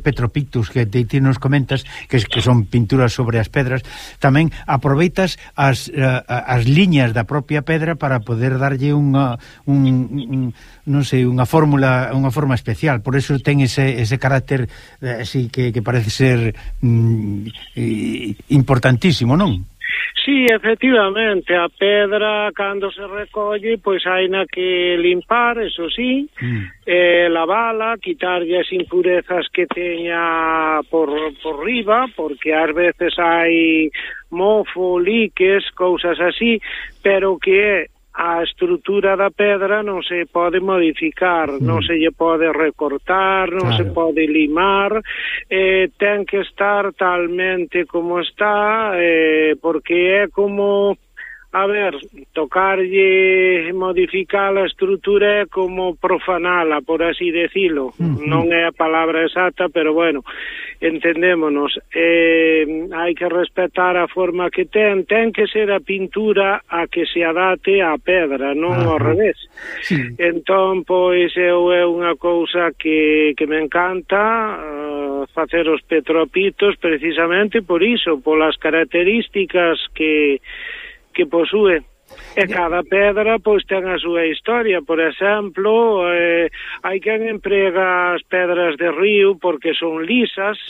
petropictus que ti nos comentas, que son pinturas sobre as pedras, tamén aproveitas as liñas da propia pedra para poder darlle unha forma especial. Por eso ten ese carácter así que parece ser importantísimo, non? Sí, efectivamente, a pedra cando se recolle, pois haina que limpar, eso sí, lavala, quitarlle as impurezas que teña por riba, porque ás veces hai mofo, liques, cousas así, pero que a estrutura da pedra non se pode modificar, non se lle pode recortar, non se pode limar, ten que estar talmente como está, porque é como, tocarlle, modificar a estrutura é como profanala, por así decilo. Non é a palabra exacta, pero bueno, entendémonos. Hai que respetar a forma que ten que ser a pintura a que se adate á pedra, non ao revés. Entón, pois, é unha cousa que me encanta, facer os petropitos precisamente por iso, polas características que posúe. E cada pedra pois ten a súa historia. Por exemplo, hai quen emprega as pedras de río porque son lisas,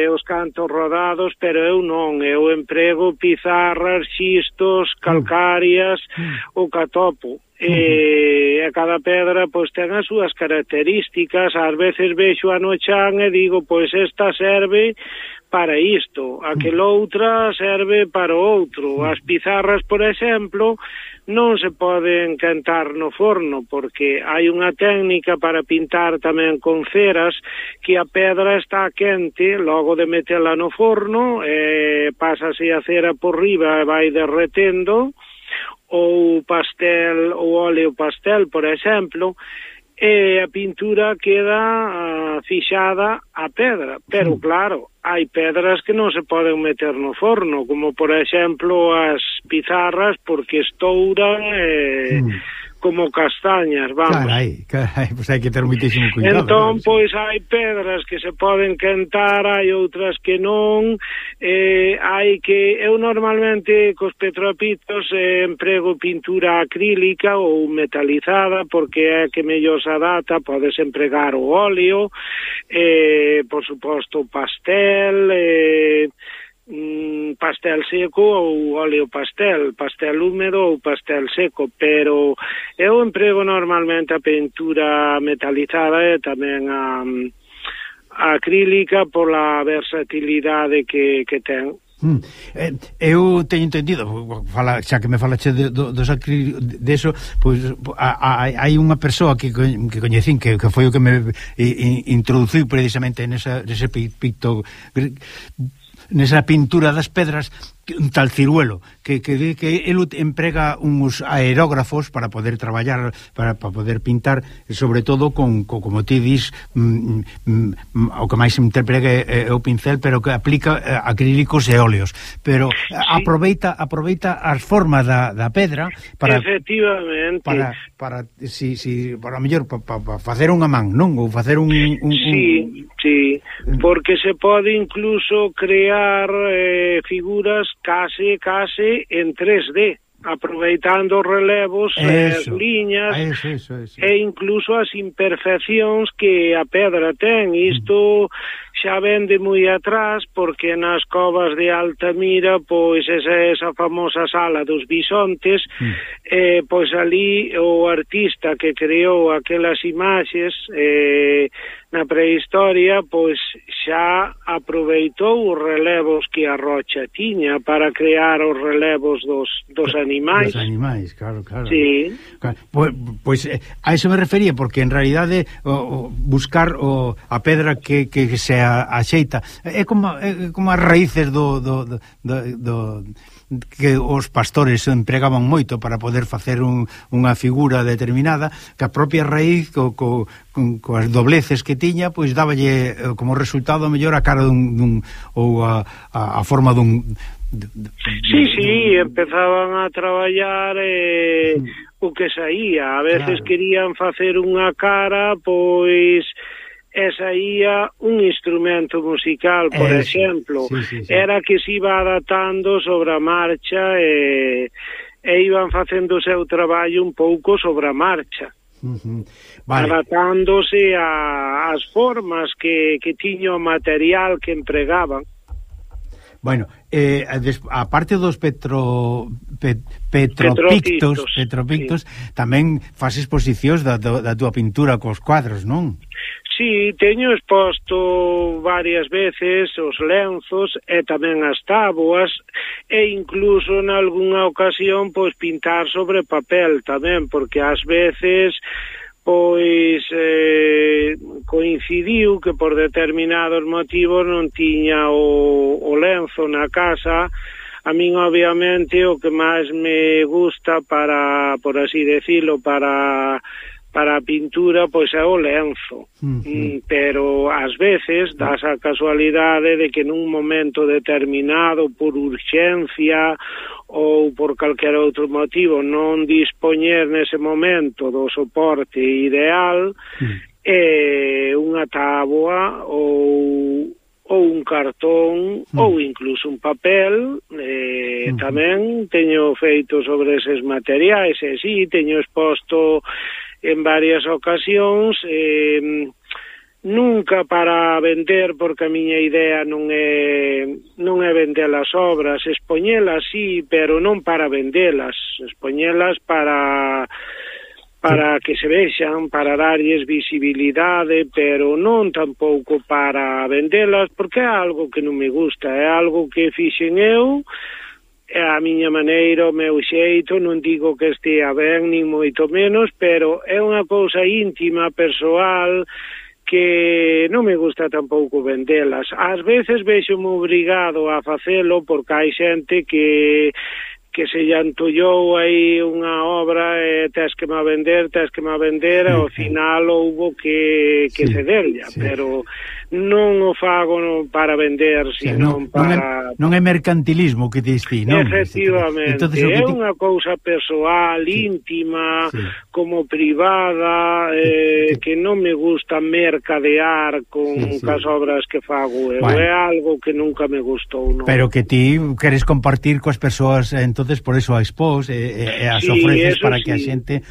os cantos rodados, pero eu non, eu emprego pizarras, xistos, calcarias, o catopo. E cada pedra pois ten as súas características. Ás veces vexo a no chan e digo, pois esta serve para isto, aquela outra serve para outro. As pizarras, por exemplo, non se poden quentar no forno, porque hai unha técnica para pintar tamén con ceras, que a pedra está quente, logo de metela no forno, pásase a cera por riba e vai derretendo, ou pastel, ou óleo pastel, por exemplo, e a pintura queda fixada á pedra. Pero claro, hai pedras que non se poden meter no forno, como por exemplo as pizarras, porque estouran como castañas, vamos. Carai, pois hai que ter moitísimo cuidado. Entón, pois hai pedras que se poden quentar, hai outras que non, hai que... Eu normalmente cos petropitos emprego pintura acrílica ou metalizada, porque é que mellor se adapta, podes empregar o óleo, por suposto pastel, pastel seco ou óleo pastel húmedo ou pastel seco, pero eu emprego normalmente a pintura metalizada e tamén a acrílica pola versatilidade que ten. Eu teño entendido, xa que me falache dos acrílicos, deso, pois hai unha persoa que coñecín que foi o que me introduciu precisamente nese picto, nesa pintura das pedras, un tal Ciruelo, que el emprega uns aerógrafos para poder traballar, para poder pintar, sobre todo como ti dis, o que máis emprega é o pincel, pero que aplica acrílicos e óleos, pero sí, aproveita as formas da pedra para, efectivamente, para mellor para facer unha man, non? Ou facer un Sí, porque se pode incluso crear figuras case en 3D, aproveitando os relevos, as liñas, eso. E incluso as imperfeccións que a pedra ten. Isto xa vende moi atrás, porque nas covas de Altamira, pois esa famosa sala dos bisontes, pois ali o artista que creou aquelas imaxes na prehistoria, pois xa aproveitou os relevos que a rocha tiña para crear os relevos dos animais. Dos animais, claro. Sí. Pois a eso me refería, porque en realidade buscar a pedra que se axeita é como as raíces do que os pastores empregaban moito para poder facer unha figura determinada, que a propia raíz coas dobleces que tiña, pois dáballe como resultado mellor a cara ou a forma dun... Sí, empezaban a traballar o que saía. A veces querían facer unha cara, pois saía un instrumento musical, por exemplo. Sí. Era que se iba adaptando sobre a marcha e iban facendo o seu traballo un pouco sobre a marcha. Vale. Adaptándose ás formas que tiña o material que empregaban. Bueno, a parte dos petropictos, sí, tamén faz exposicións da túa pintura cos cuadros, non? Sí, teño exposto varias veces os lenzos e tamén as táboas, e incluso en algunha ocasión pois pintar sobre papel tamén, porque ás veces pois coincidiu que por determinados motivos non tiña o lenzo na casa. A min obviamente o que máis me gusta para, por así decirlo, para a pintura, pois é o lenzo. Pero ás veces das a casualidade de que nun momento determinado, por urxencia ou por calquer outro motivo, non dispoñer nese momento do soporte ideal, unha táboa ou un cartón ou incluso un papel, tamén teño feito sobre eses materiais, e si, teño exposto en varias ocasións, nunca para vender, porque a miña idea non é vender as obras, expoñelas sí, pero non para vendelas, expoñelas para que se vexan, para darlles visibilidade, pero non tampouco para vendelas, porque é algo que non me gusta, é algo que fixen eu, a miña maneira, o meu xeito, non digo que estea ben, nin moito menos, pero é unha cousa íntima, persoal, que non me gusta tampouco vendelas. Ás veces vexo-me obrigado a facelo porque hai xente que se lle antollou aí unha obra e tes que me vender, e ao final houbo que cederlla, pero non o fago para vender, sino para... Non é mercantilismo que diste, non? Efectivamente, é unha cousa persoal, íntima, como privada, que non me gusta mercadear con as obras que fago eu, é algo que nunca me gustou, non? Pero que ti queres compartir coas persoas, entonces por eso a expós e as ofreces para que a xente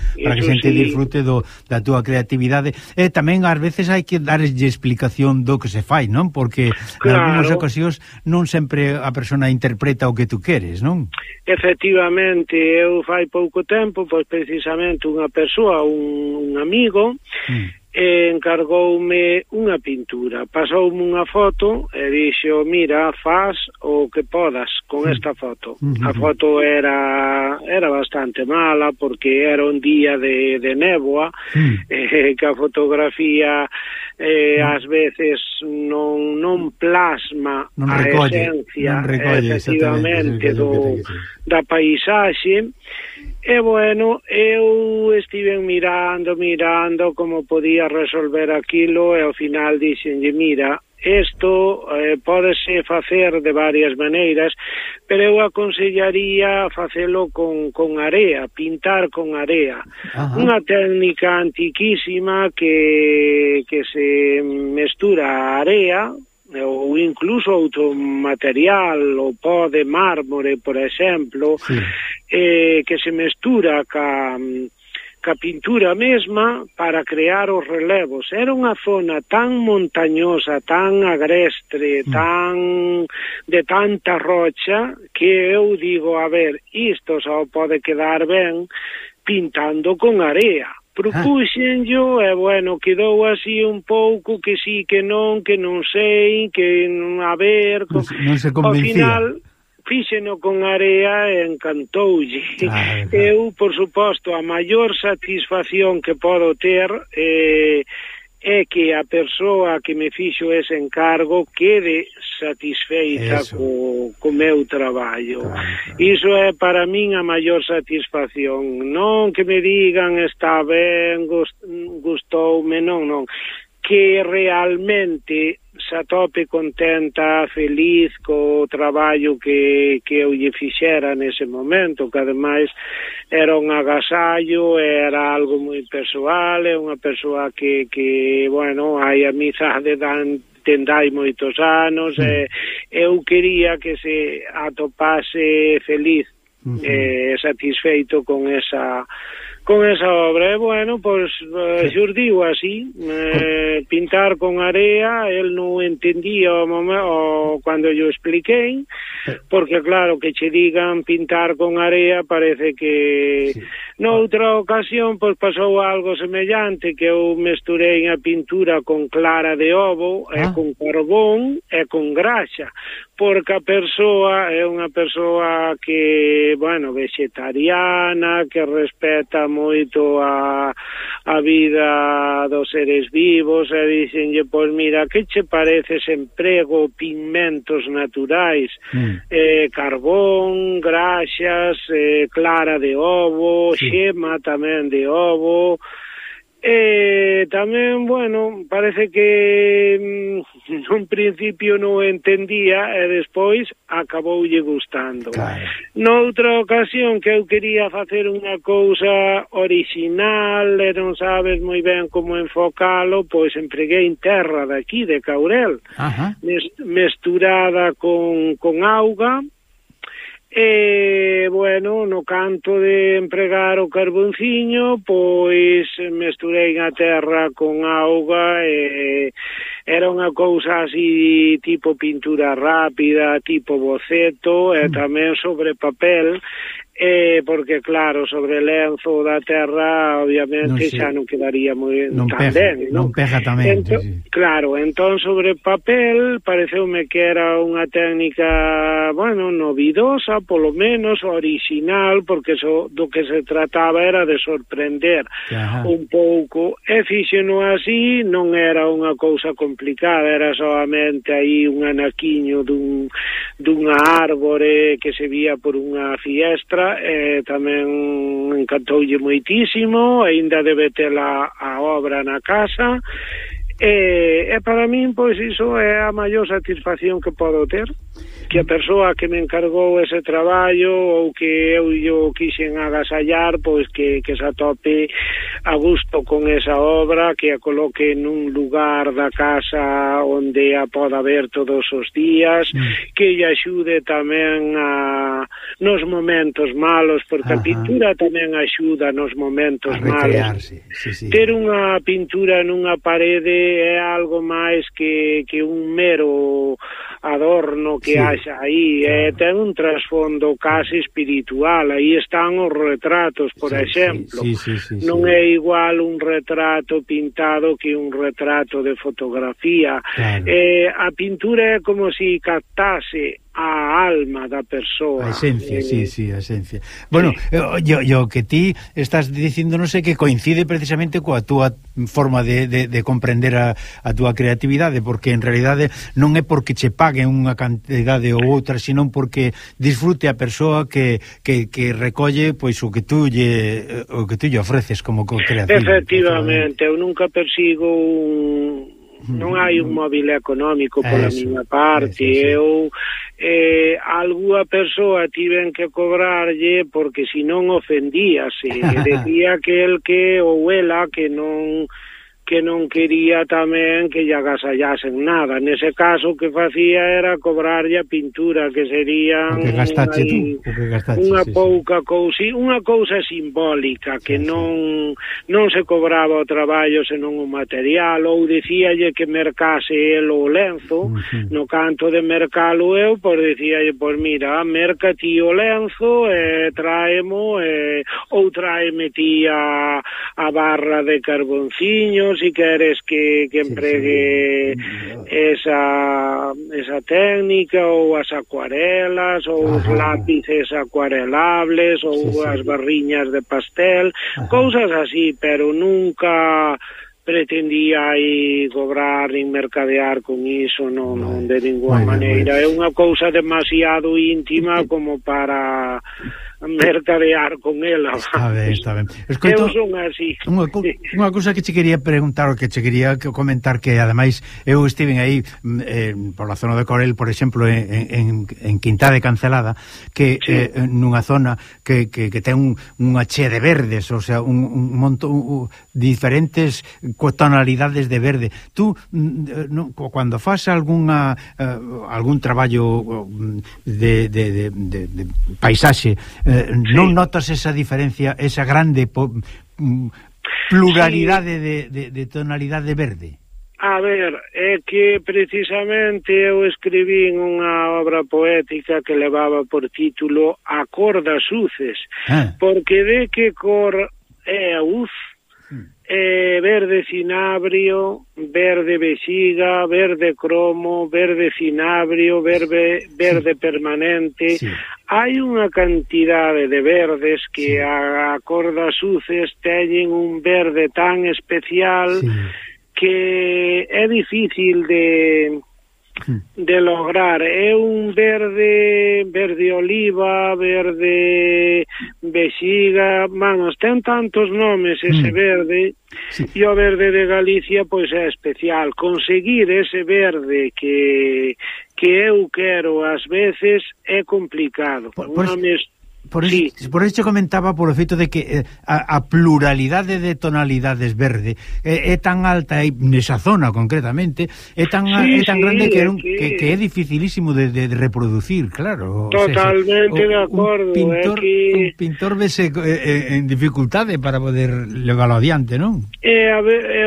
disfrute da túa creatividade. E tamén ás veces hai que darlle explicación do que se fai, non? Porque en algunhas ocasións non sempre a persona interpreta o que tú queres, non? Efectivamente, eu fai pouco tempo, pois precisamente unha persoa, un amigo, encargoume unha pintura, pasoume unha foto e dixo, mira, faz o que podas con esta foto. A foto era bastante mala porque era un día de néboa, que a fotografía ás veces non plasma a esencia efectivamente da paisaxe. E bueno, eu estive mirando como podía resolver aquilo e ao final dixenlle, mira, isto pódese facer de varias maneiras, pero eu aconsellaría facelo con area, pintar con area. Unha técnica antiquísima que se mestura a area ou incluso outro material, o pó de mármore, por exemplo, que se mestura ca pintura mesma para crear os relevos. Era unha zona tan montañosa, tan agrestre, de tanta rocha, que eu digo, a ver, isto só pode quedar ben pintando con area. Propuxenllo e, bueno, quedou así un pouco que sí, que non sei, que a ver... Non se convencía. Ao final, fíxeno con area e encantoulle. Eu, por suposto, a maior satisfacción que podo ter é que a persoa que me fixo ese encargo quede satisfeita co meu traballo. Iso é para min a maior satisfacción. Non que me digan está ben, gustoume, non. Que realmente se atope contenta, feliz co traballo que eu lle fixera nese momento, que ademais era un agasallo, era algo moi persoal, é unha persoa que bueno, hai amizade dende hai moitos anos, eu quería que se atopase feliz e satisfeito con esa obra. E, bueno, pois xurdiu así, pintar con area. El non entendía cando yo expliquei, porque claro, que che digan pintar con area parece que... Noutra ocasión, pois pasou algo semellante, que eu mesturei a pintura con clara de ovo, e con carbón, e con graxa, porque a persoa é unha persoa que, bueno, vegetariana, que respeta moito a vida dos seres vivos, e dixenlle, pois mira, que che parece se emprego pigmentos naturais, carbón, graxas, clara de ovo, xema tamén de ovo, tamén, bueno, parece que nun principio non entendía e despois acaboulle gustando. Noutra ocasión que eu quería facer unha cousa original e non sabes moi ben como enfocalo, pois empreguei terra daqui, de Caurel, mesturada con auga. E, bueno, no canto de empregar o carbonciño, pois mesturei a terra con auga e era unha cousa así tipo pintura rápida, tipo boceto, e tamén sobre papel. porque claro, sobre lenzo da terra obviamente xa non quedaría moi tan ben, non pega tamén, sí. Claro, entón sobre papel pareceume que era unha técnica, bueno, novidosa, polo menos original, porque do que se trataba era de sorprender un pouco, e fíxeno así, non era unha cousa complicada, era solamente aí un anaquiño dunha árbore que se vía por unha fiestra. Tamén encantoulle moitísimo, aínda debe ter a obra na casa, e para min, pois, iso é a maior satisfacción que podo ter, que a persoa que me encargou ese traballo ou que eu quixen agasallar, pois que se atope a gusto con esa obra, que a coloque nun lugar da casa onde a poda ver todos os días, que lle axude tamén nos momentos malos, porque a pintura tamén axuda nos momentos malos. Ter unha pintura nunha parede é algo máis que un mero adorno que haxa aí, ten un trasfondo case espiritual. Aí están os retratos, por exemplo. Non é igual un retrato pintado que un retrato de fotografía. A pintura é como se captase a alma da persoa. A esencia, a esencia. Bueno, yo que ti estás dicindo, non sei, que coincide precisamente coa túa forma de comprender a túa creatividade, porque en realidade non é porque che paguen unha cantidade ou outra, sino porque disfrute a persoa que recolle pois o que tú lle ofreces como creativo. Efectivamente, eu nunca persigo non hai un móvil económico pola miña parte. Eu algunha persoa tiven que cobrarlle porque senón ofendíase, decía que el que ou ela que non quería tamén que lle agasallasen nada. Nese caso, o que facía era cobrarlle a pintura, que serían unha pouca cousa, unha cousa simbólica, que non se cobraba o traballo senón o material, ou dicíalle que mercase el o lenzo. No canto de mercalo eu, pois dicíalle, pois mira, merca ti o lenzo, traemo, ou traeme ti a barra de carbonciños, si queres que empregue esa técnica, ou as acuarelas, ou os lápices acuarelables, ou as barriñas de pastel, cousas así, pero nunca pretendía aí cobrar nin mercadear con iso, non de ninguna maneira. É unha cousa demasiado íntima como para mercadear con ela. Está ben. Escoito, eu son así. Unha cousa que che quería preguntar, ou que che quería comentar, que ademais eu estiven aí por la zona de Corel, por exemplo, en Quintá de Cancelada, que nunha zona que ten unha chea de verdes, o sea, un montón diferentes tonalidades de verde. Tú, cando fas algún traballo de paisaxe, non notas esa diferencia, esa grande pluralidade de tonalidade verde? A ver, é que precisamente eu escribín unha obra poética que levaba por título A cor das uces, porque de que cor é a uz? Verde cinabrio, verde vexiga, verde cromo, verde cinabrio, verde permanente. Hai unha cantidade de verdes que a cor das uces teñen un verde tan especial que é difícil de lograr. É un verde oliva, verde vexiga, vamos, ten tantos nomes ese verde, e o verde de Galicia pois é especial. Conseguir ese verde que eu quero ás veces é complicado. Por isto comentaba, por o feito de que a pluralidade de tonalidades verde é tan alta nesa zona concretamente, é tan grande que é dificilísimo de reproducir, claro. Totalmente de acordo. Un pintor vese en dificultade para poder leválo adiante, non?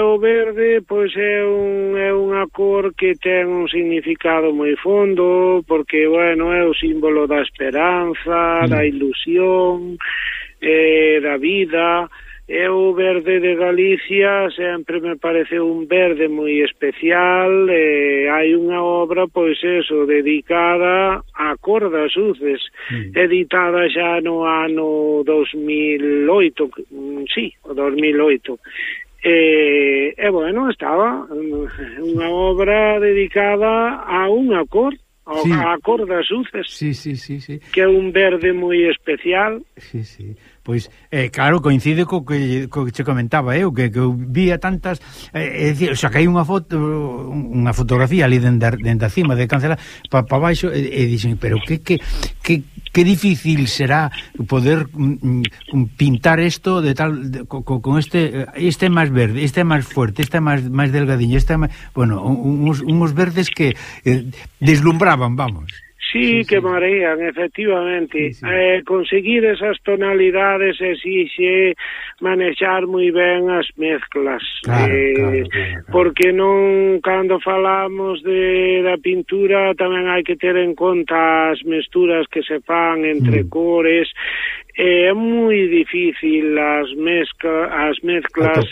O verde pois é unha cor que ten un significado moi fondo, porque, bueno, é o símbolo da esperanza, da ilusión, ilusión, da vida. E o verde de Galicia sempre me pareceu un verde moi especial. Hai unha obra, pois eso, dedicada á cor das uces, editada xa no ano 2008, sí, o 2008. E bueno, estaba unha obra dedicada a unha cor, a cor das uces, que é un verde moi especial. Pois, claro, coincide co que che comentaba eu, que eu vía tantas, o sea, que hai unha fotografía ali dende a cima de Cancela pa baixo, e dixen, pero que difícil será poder pintar isto de tal, con este é máis verde, este é máis fuerte, este é máis delgadiño, este é máis, bueno, uns verdes que deslumbraban, vamos. Sí, que marean, efectivamente. Conseguir esas tonalidades exixe manexar moi ben as mezclas. Claro. Porque non, cando falamos da pintura, tamén hai que ter en conta as mesturas que se fan entre cores. É moi difícil as mezclas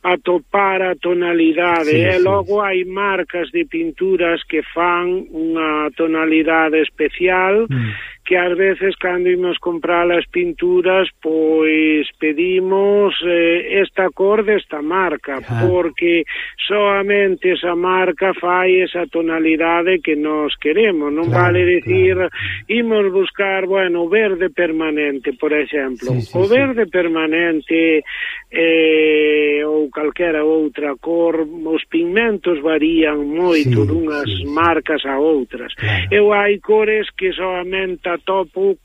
atopar a tonalidade, e logo hai marcas de pinturas que fan unha tonalidade especial, que ás veces cando imos comprar as pinturas pois pedimos esta cor desta marca, porque soamente esa marca fai esa tonalidade que nos queremos, non vale dicir imos buscar, bueno, verde permanente, por exemplo. O verde permanente ou calquera outra cor, os pigmentos varían moito dunhas marcas a outras. Eu hai cores que soamente atopo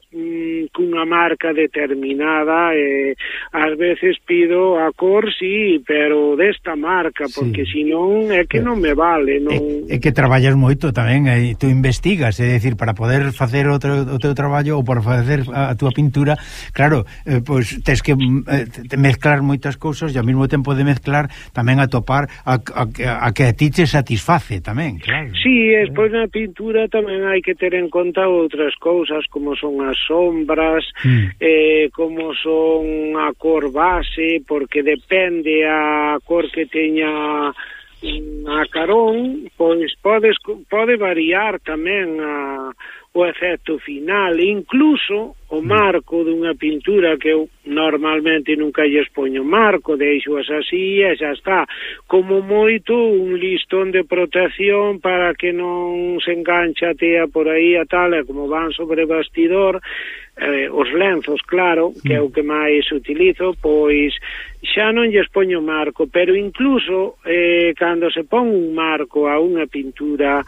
cunha marca determinada, e ás veces pido a cor, pero desta marca, porque senón é que non me vale. É que traballas moito tamén, tú investigas, é dicir, para poder facer o teu traballo ou para facer a túa pintura, claro, pois tens que mezclar moitas cousas e ao mesmo tempo de mezclar tamén atopar a que a ti te satisface tamén, claro. Sí, despois na pintura tamén hai que ter en conta outras cousas, como son as sombras, como son a cor base, porque depende a cor que teña a carón, pois pode variar tamén o efecto final, incluso o marco dunha pintura, que eu normalmente nunca lles poño marco, deixo así e xa está, como moito un listón de protección para que non se engancha a tea por aí a tal, e como van sobre bastidor, os lenzos, claro, que é o que máis utilizo, pois xa non lles poño marco, pero incluso cando se pon un marco a unha pintura,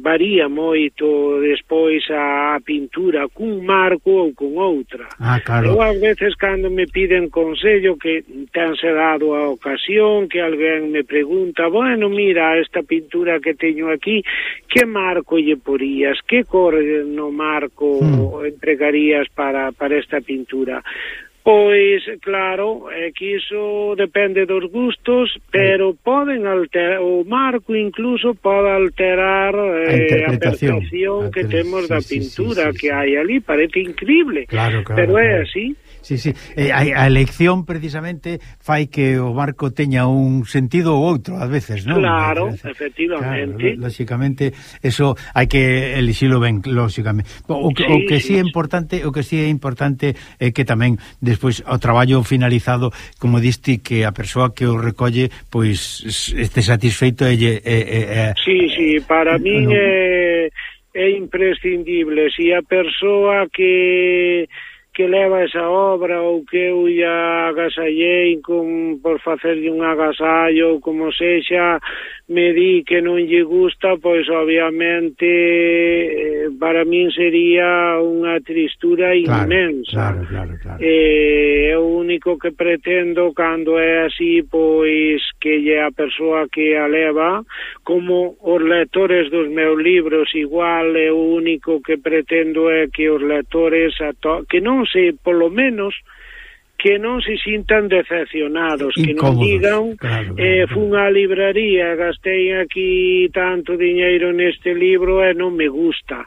varía moito despois a pintura cun marco ou con outra. Claro. Eu ás veces cando me piden consello, que tense dado a ocasión, que alguén me pregunta, bueno, mira, esta pintura que teño aquí, que marco lle porías, que cor no marco empregarías para esta pintura? Pois, claro, é que iso depende dos gustos, pero poden alterar, o marco incluso pode alterar a percepción que temos da pintura que hai ali, parece increíble, pero é así. Sí, a elección precisamente fai que o marco teña un sentido ou outro ás veces, non? Claro, efectivamente. Claro, lóxicamente, eso hai que elixilo ben, lóxicamente. O que sí é importante é que tamén despois o traballo finalizado, como diste, que a persoa que o recolle pois este satisfeito Sí, para min é imprescindible. Si a persoa que leva esa obra, ou que eu ia agasallei por facerlle un agasallo, ou como sexa, me di que non lle gusta, pois obviamente para min sería unha tristura inmensa. Claro. O único que pretendo cando é así, pois que lle a persoa que a leva, como os lectores dos meus libros, igual, é o único que pretendo é que os lectores que non sei, polo menos, que non se sintan decepcionados, que non incómodos, digan claro. fun á libraría, gastei aquí tanto diñeiro neste libro e non me gusta,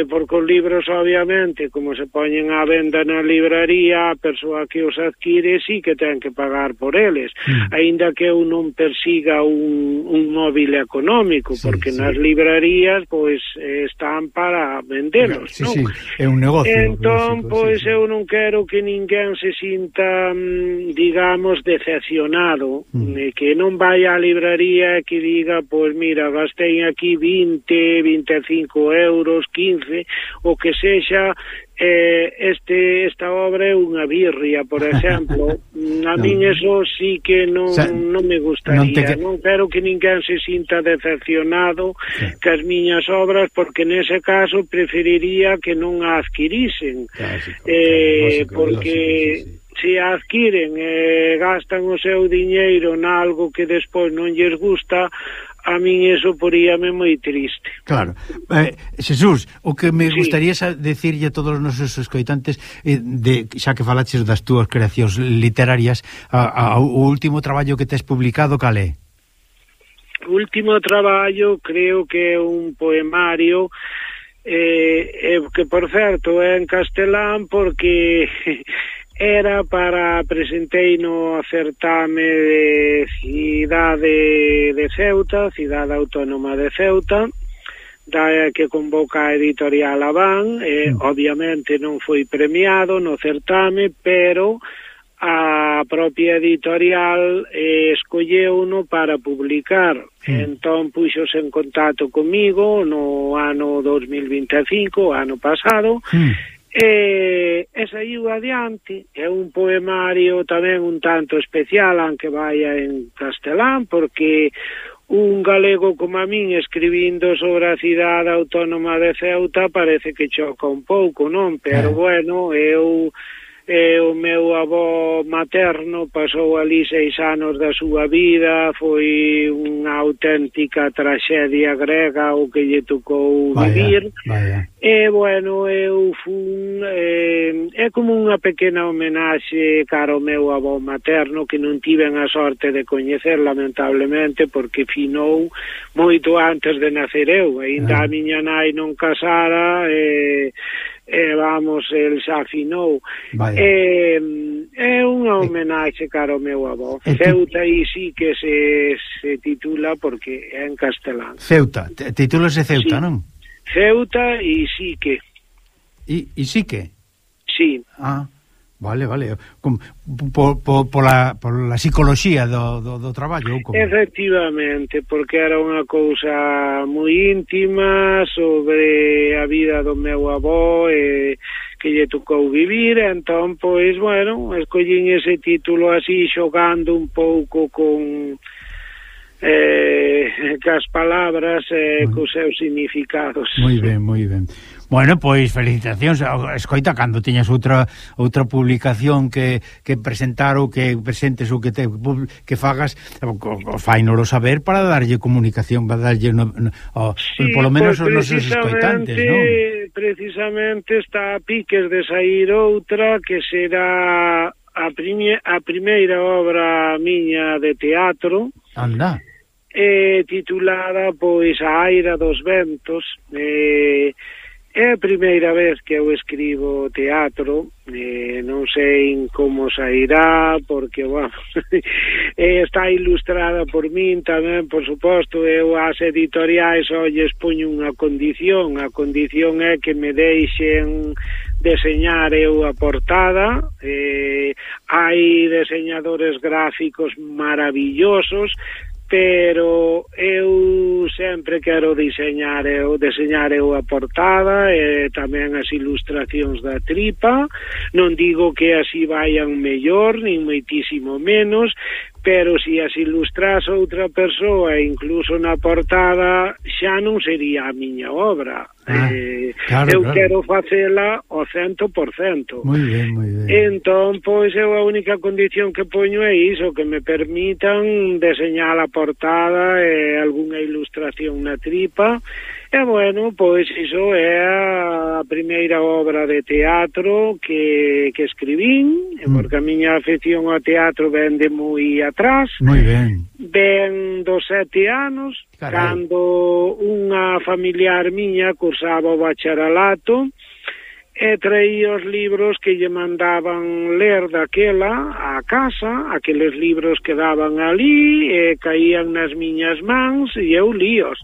porque os libros obviamente como se poñen á venda na libraría, a persoa que os adquire sí que ten que pagar por eles, aínda que eu non persiga un móvil económico, porque nas librarías pois están para vendelos, non? Sí, é un negocio. Entón, pois eu non quero que ninguén se sinta, digamos, decepcionado, que non vai á libraría e que diga, pois mira, gastei aquí 20, 25 euros, 15, o que sexa, esta obra é unha birria, por exemplo. A min eso sí que non me gustaría, non quero que ninguén se sinta decepcionado cas miñas obras, porque nese caso preferiría que non a adquirisen, porque se a adquiren e gastan o seu diñeiro nalgo que despois non lles gusta, a min eso poríame moi triste. Claro. Xesús, o que me gustaría decirlle a todos os nosos escoitantes, xa que falaches das túas creacións literarias, o último traballo que tes publicado, cal é? O último traballo creo que é un poemario que, por certo, é en castelán, porque era para presentei no certame de cidade de Ceuta, cidade autónoma de Ceuta, que convoca a editorial Abán. Obviamente non foi premiado no certame, pero a propia editorial escolleu-no para publicar. Entón puxos en contacto comigo no ano 2025, ano pasado, e saiu adiante. É un poemario tamén un tanto especial, aunque vaya en castelán, porque un galego como a min escribindo sobre a cidade autónoma de Ceuta parece que choca un pouco, non? Pero bueno, o meu avó materno pasou ali 6 anos da súa vida, foi unha auténtica traxedia grega o que lle tocou vivir. E bueno, eu fun é como unha pequena homenaxe cara ao meu avó materno, que non tiven a sorte de coñecer, lamentablemente, porque finou moito antes de nacer eu. Ainda a miña nai non casara, vamos, el xa afinou. É unha homenaxe cara ao meu avó. Ceuta e sí que se titula, porque é en castelán. Ceuta, titúlase Ceuta, non? Ceuta e Sique. E Sique? Sí. Vale. Pola psicoloxía do traballo. Efectivamente, porque era unha cousa moi íntima sobre a vida do meu avó que lle tocou vivir. Entón, pois, bueno, escollín ese título así, xogando un pouco con cas palabras cos seus significados. Moi ben. Bueno, pois felicitacións. Escoita, cando tiñas outra publicación que presentar ou que presentes ou que fagas, fainolo saber para darlle comunicación, para darlle polo menos os nosos escoitantes, non? Precisamente está a piques de sair outra que será a primeira obra miña de teatro. Anda. Titulada, pois, A Aira dos Ventos. É a primeira vez que eu escribo teatro, non sei como sairá, porque, bueno, está ilustrada por min tamén, por suposto. Eu ás editoriais lles poño unha condición. A condición é que me deixen deseñar eu a portada. Hai deseñadores gráficos maravillosos, pero eu sempre quero deseñar eu a portada e tamén as ilustracións da tripa. Non digo que así vayan mellor, nin moitísimo menos, pero se as ilustras outra persoa, incluso na portada, xa non sería a miña obra. Eu quero facela ao 100%. Moi ben. Entón, pois, eu a única condición que poño é iso, que me permitan deseñar a portada e algunha ilustración na tripa, E, bueno, pois iso é a primeira obra de teatro que escribín, porque a miña afección ao teatro ven de moi atrás. Moi ben. Ven dos 7 anos, cando unha familiar miña cursaba o bacharelato, e traía os libros que lle mandaban ler daquela a casa, aqueles libros que daban ali, e caían nas miñas mans, e eu líos.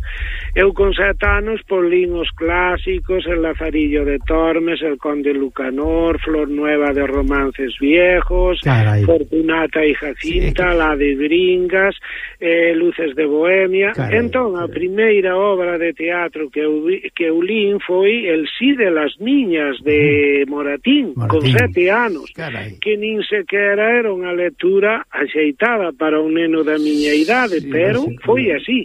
Eu con 7 anos lín os clásicos, El Lazarillo de Tormes, El Conde Lucanor, Flor Nueva de Romances Viejos, Fortunata y Jacinta, La de Bringas, Luces de Bohemia. Entón, a primeira obra de teatro que eu lín foi El sí de las niñas, de Moratín, con 7 anos, que nin sequera era unha lectura axeitada para un neno da miña idade, pero foi así.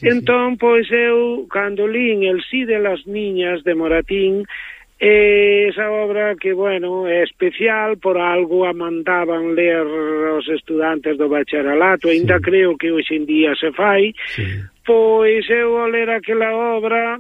Entón, pois eu, cando lín El sí de las niñas de Moratín, esa obra que, bueno, é especial, por algo a mandaban ler os estudantes do bacharelato, ainda creo que hoxe en día se fai, pois eu ao ler aquela obra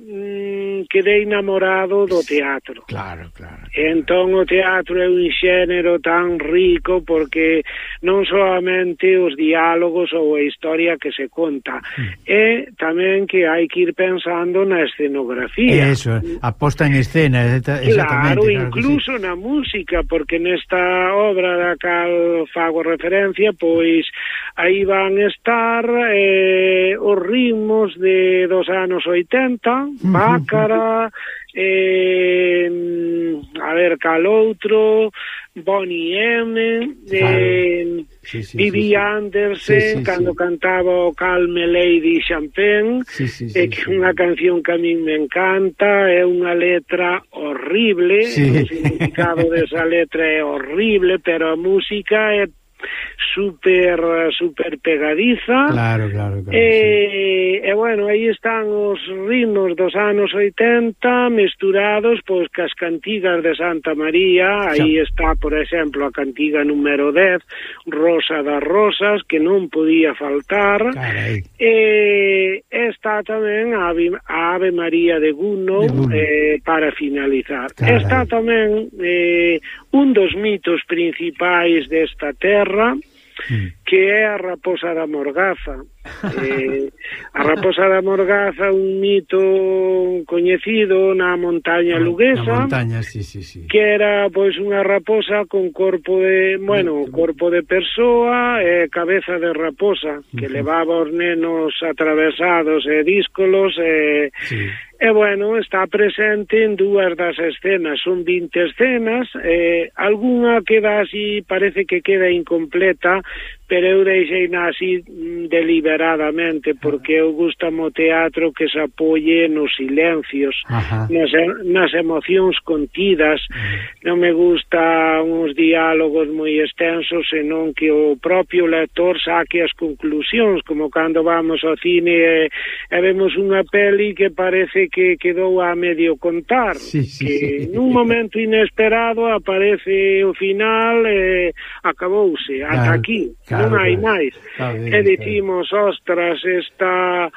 quedei namorado do teatro. Claro, claro. Entón o teatro é un xénero tan rico porque non solamente os diálogos ou a historia que se conta, é tamén que hai que ir pensando na escenografía. Eso, a posta en escena, exactamente. Claro, incluso na música, porque nesta obra da cal fago referencia, pois aí van estar os ritmos dos anos 80, Bácara, a ver, cal outro, Bonnie M, Vivi Andersen, cando cantaba o Calme Lady Champagne, que é unha canción que a min me encanta, é unha letra horrible, o significado desa letra é horrible, pero a música é super pegadiza. Claro. E bueno, aí están os ritmos dos anos 80 mesturados pois cas cantigas de Santa María. Aí está, por exemplo, a cantiga número 10, Rosa das Rosas, que non podía faltar. E está tamén a Ave María de Gounod, para finalizar. Está tamén un dos mitos principais desta terra, que é a Raposa da Morgaza. A Raposa da Morgaza, un mito coñecido na montaña luguesa, que era pois unha raposa con corpo de, corpo de persoa e cabeza de raposa, que levaba os nenos atravesados e díscolos e bueno, está presente en 2 das escenas, son 20 escenas, algunha queda así, parece que queda incompleta, pero eu deixei así deliberadamente, porque eu gustame o teatro que se apoie nos silencios, nas emocións contidas. Non me gusta uns diálogos moi extensos, senón que o propio lector saque as conclusións, como cando vamos ao cine e vemos unha peli que parece que quedou a medio contar, que nun momento inesperado aparece o final e acabouse, ata aquí, non hai máis. E dicimos, ostras, esta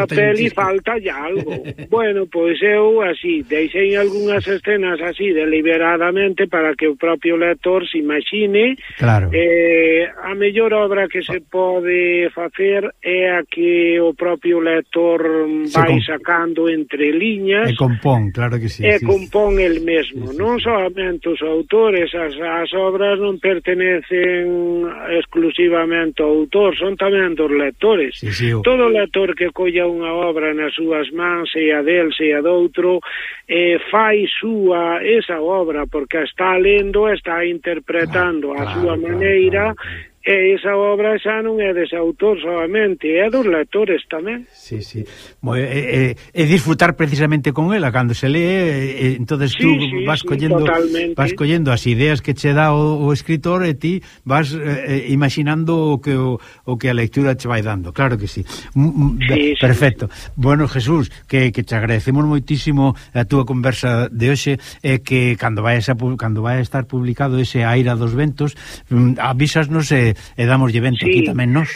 peli faltalle algo. Bueno, pois eu así, deixei algunhas escenas así deliberadamente para que o propio lector se imagine. A mellor obra que se pode facer é a que o propio lector vai sacando entre liñas. E compón, claro que sí. E compón el mesmo. Non solamente os autores, as obras non pertenecen exclusivamente ao autor, son tamén dos lectores. Todo lector que colla unha obra nas súas mans, sea del, sea doutro, fai súa esa obra, porque está lendo, está interpretando a súa maneira, e esa obra xa non é dese autor solamente, é dos lectores tamén. E disfrutar precisamente con ela cando se lee, entonces tú vas collendo as ideas que che dá o escritor e ti vas imaginando o que a lectura che vai dando. Claro que sí. Perfecto. Bueno, Jesús, que te agradecemos moitísimo a túa conversa de hoxe, e que cando vai a estar publicado ese Aira dos Ventos, avísasnos e damoslle vento aquí tamén nos.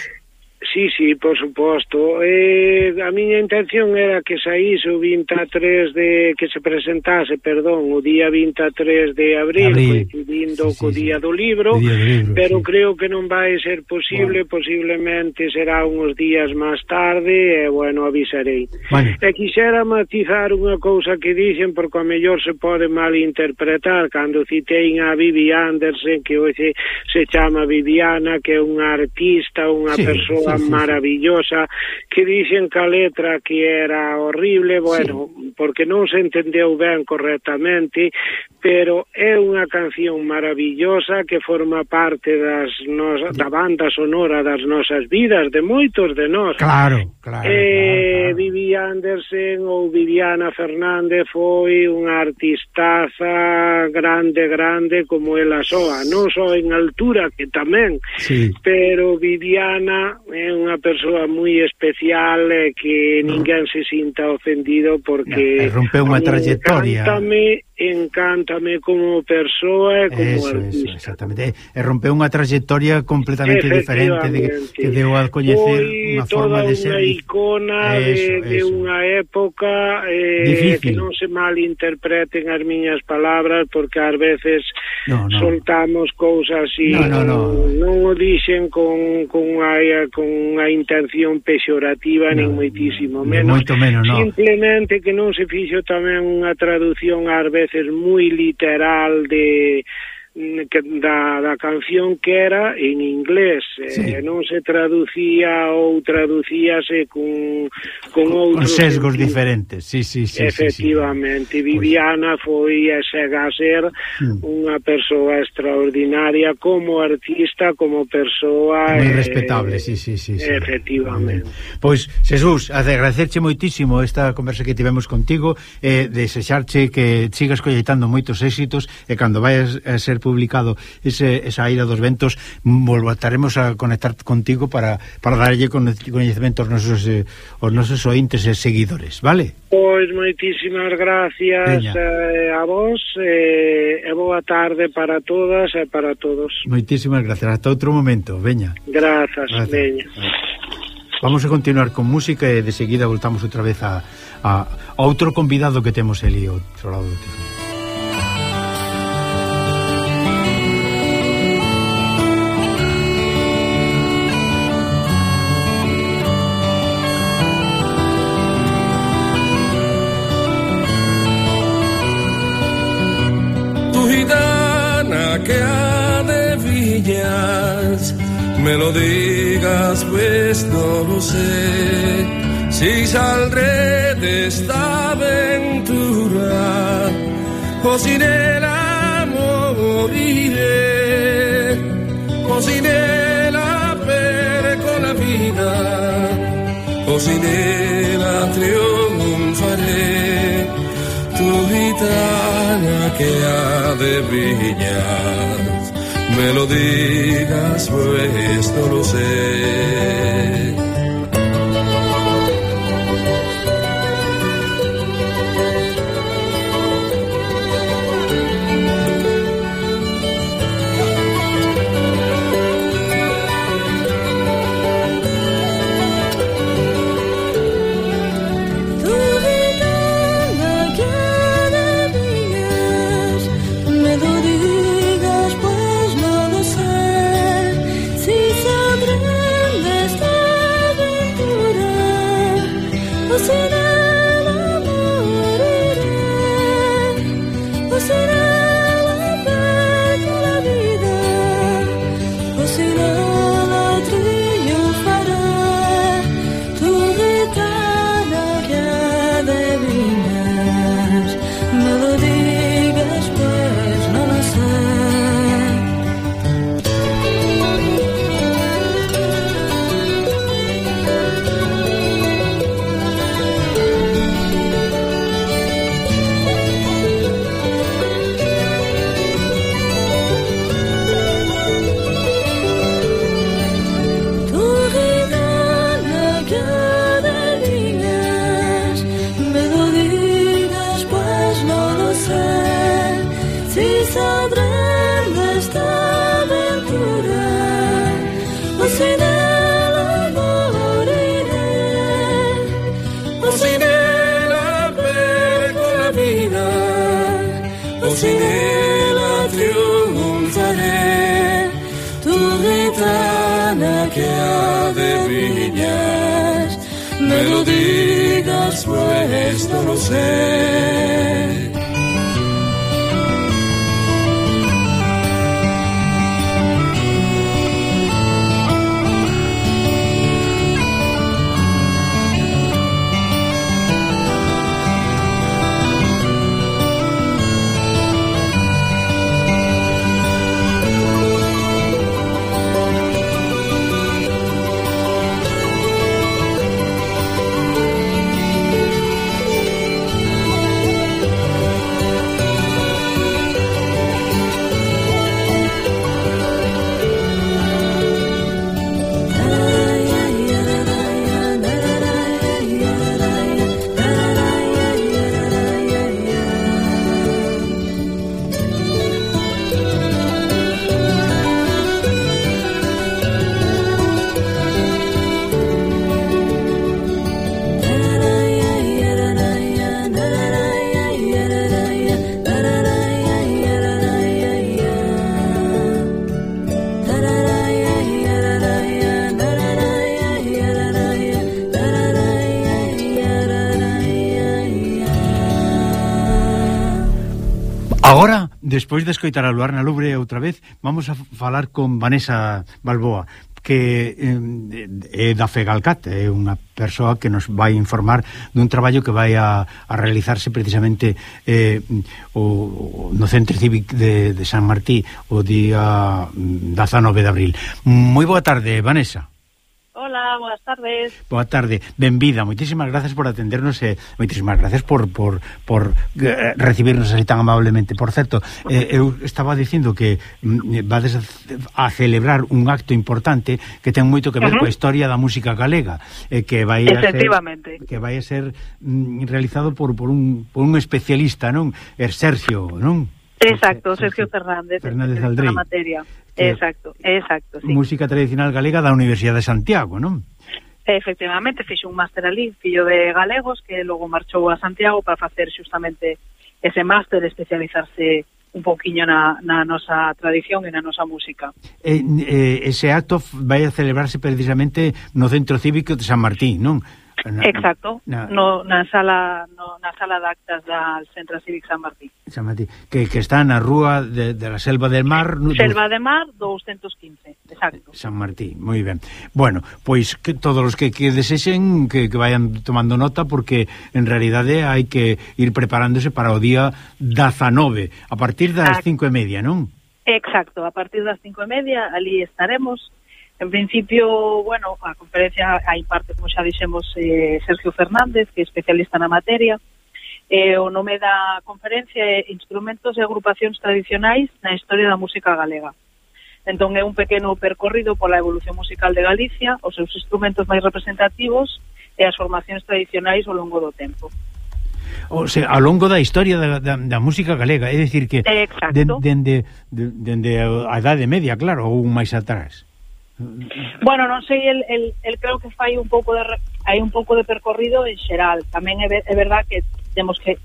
Sí, por suposto. A miña intención era que saíse o 23 que se presentase, o día 23 de abril, coincidindo co día do libro, pero creo que non vai ser posible, posiblemente será uns días máis tarde, e, avisarei. E quixera matizar unha cousa que dicen, porque a mellor se pode malinterpretar, cando citei a Vivi Andersen, que hoxe se chama Viviana, que é unha artista, unha persoa maravillosa, que dicen que a letra que era horrible, porque non se entendeu ben correctamente, pero é unha canción maravillosa que forma parte da banda sonora das nosas vidas, de moitos de nós. Claro. Vivi Andersen ou Viviana Fernández foi unha artistaza grande como ela soa, non só en altura, que tamén, pero Viviana é unha persoa moi especial, que ninguén se sinta ofendido, porque rompeu unha trayectoria. Encántame como persoa e como artista. Exactamente. E rompeu unha trayectoria completamente diferente, que deu a coñecer unha forma de ser. Foi toda unha icona de unha época, que non se malinterpreten as miñas palabras, porque ás veces soltamos cousas así, non o dixen con unha intención pexorativa, nin moitísimo menos. Simplemente que non se fixo tamén unha traducción ás veces moi literal da canción, que era en inglés, non se traducía ou traducíase con outros sesgos diferentes. Efectivamente. Viviana foi e chega a ser unha persoa extraordinaria como artista, como persoa moi respetable. Efectivamente. Pois, Jesús, agradecerche moitísimo esta conversa que tivemos contigo, desexarche que sigas colleitando moitos éxitos, e cando vayas a ser publicado esa Ira dos Ventos, voltaremos a conectar contigo para darlle coñecemento aos nosos ointes e seguidores, vale? Pois moitísimas gracias a vos, e boa tarde para todas e para todos. Moitísimas gracias, hasta outro momento, veña. Grazas. Veña. Vamos a continuar con música e de seguida voltamos outra vez a outro convidado que temos ali ao outro lado do teléfono. Que adivinas, me lo digas, pues no lo sé. Si saldré de esta aventura o sin él moriré, o sin él perco la vida, o sin él triunfaré. Tu gitana que adivinas, me lo digas, pues no lo sé. Si se aprende esta que adivinas. Me lo digas, pues no lo sé. Agora, despois de escoitar a Luar na Lubre outra vez, vamos a falar con Vanessa Balboa, que é da Fegalcat, é unha persoa que nos vai informar dun traballo que vai a realizarse precisamente no Centro Cívico de San Martí o día 19 de abril. Moi boa tarde, Vanessa. Hola, buenas tardes. Boa tarde, benvida, moitísimas gracias por atendernos e moitísimas gracias por recibirnos así tan amablemente. Por certo, eu estaba dicindo que vades a celebrar un acto importante que ten moito que ver coa historia da música galega, que vai a ser realizado por un especialista, non? Sergio, non? Exacto, Sergio Fernández Aldrey. Na materia. Exacto, sí. Música tradicional galega da Universidade de Santiago, non? Efectivamente, fixo un máster ali, fillo de galegos, que logo marchou a Santiago para facer xustamente ese máster, especializarse un poquinho na nosa tradición e na nosa música. Ese acto vai a celebrarse precisamente no Centro Cívico de San Martín, non? Exacto, na sala de actas del Centro Cívico San Martín. San Martín, que está na rúa de la Selva del Mar. Selva del Mar 215, exacto. San Martín, moi ben. Bueno, pois que todos os que desexen que vayan tomando nota, porque en realidade hai que ir preparándose para o día 19, a partir das 5:30, non? Exacto, a partir das 5:30 ali estaremos. En principio, bueno, a conferencia hai parte, como xa dixemos, Sergio Fernández, que é especialista na materia. O nome da conferencia é Instrumentos e agrupacións tradicionais na historia da música galega. Entón é un pequeno percorrido pola evolución musical de Galicia, os seus instrumentos máis representativos e as formacións tradicionais ao longo do tempo. O sea, ao longo da historia da música galega, é dicir que dende a Idade Media, claro, ou máis atrás. Bueno, non sei, el creo que fai un pouco de percorrido en xeral. Tamén é verdad que temos que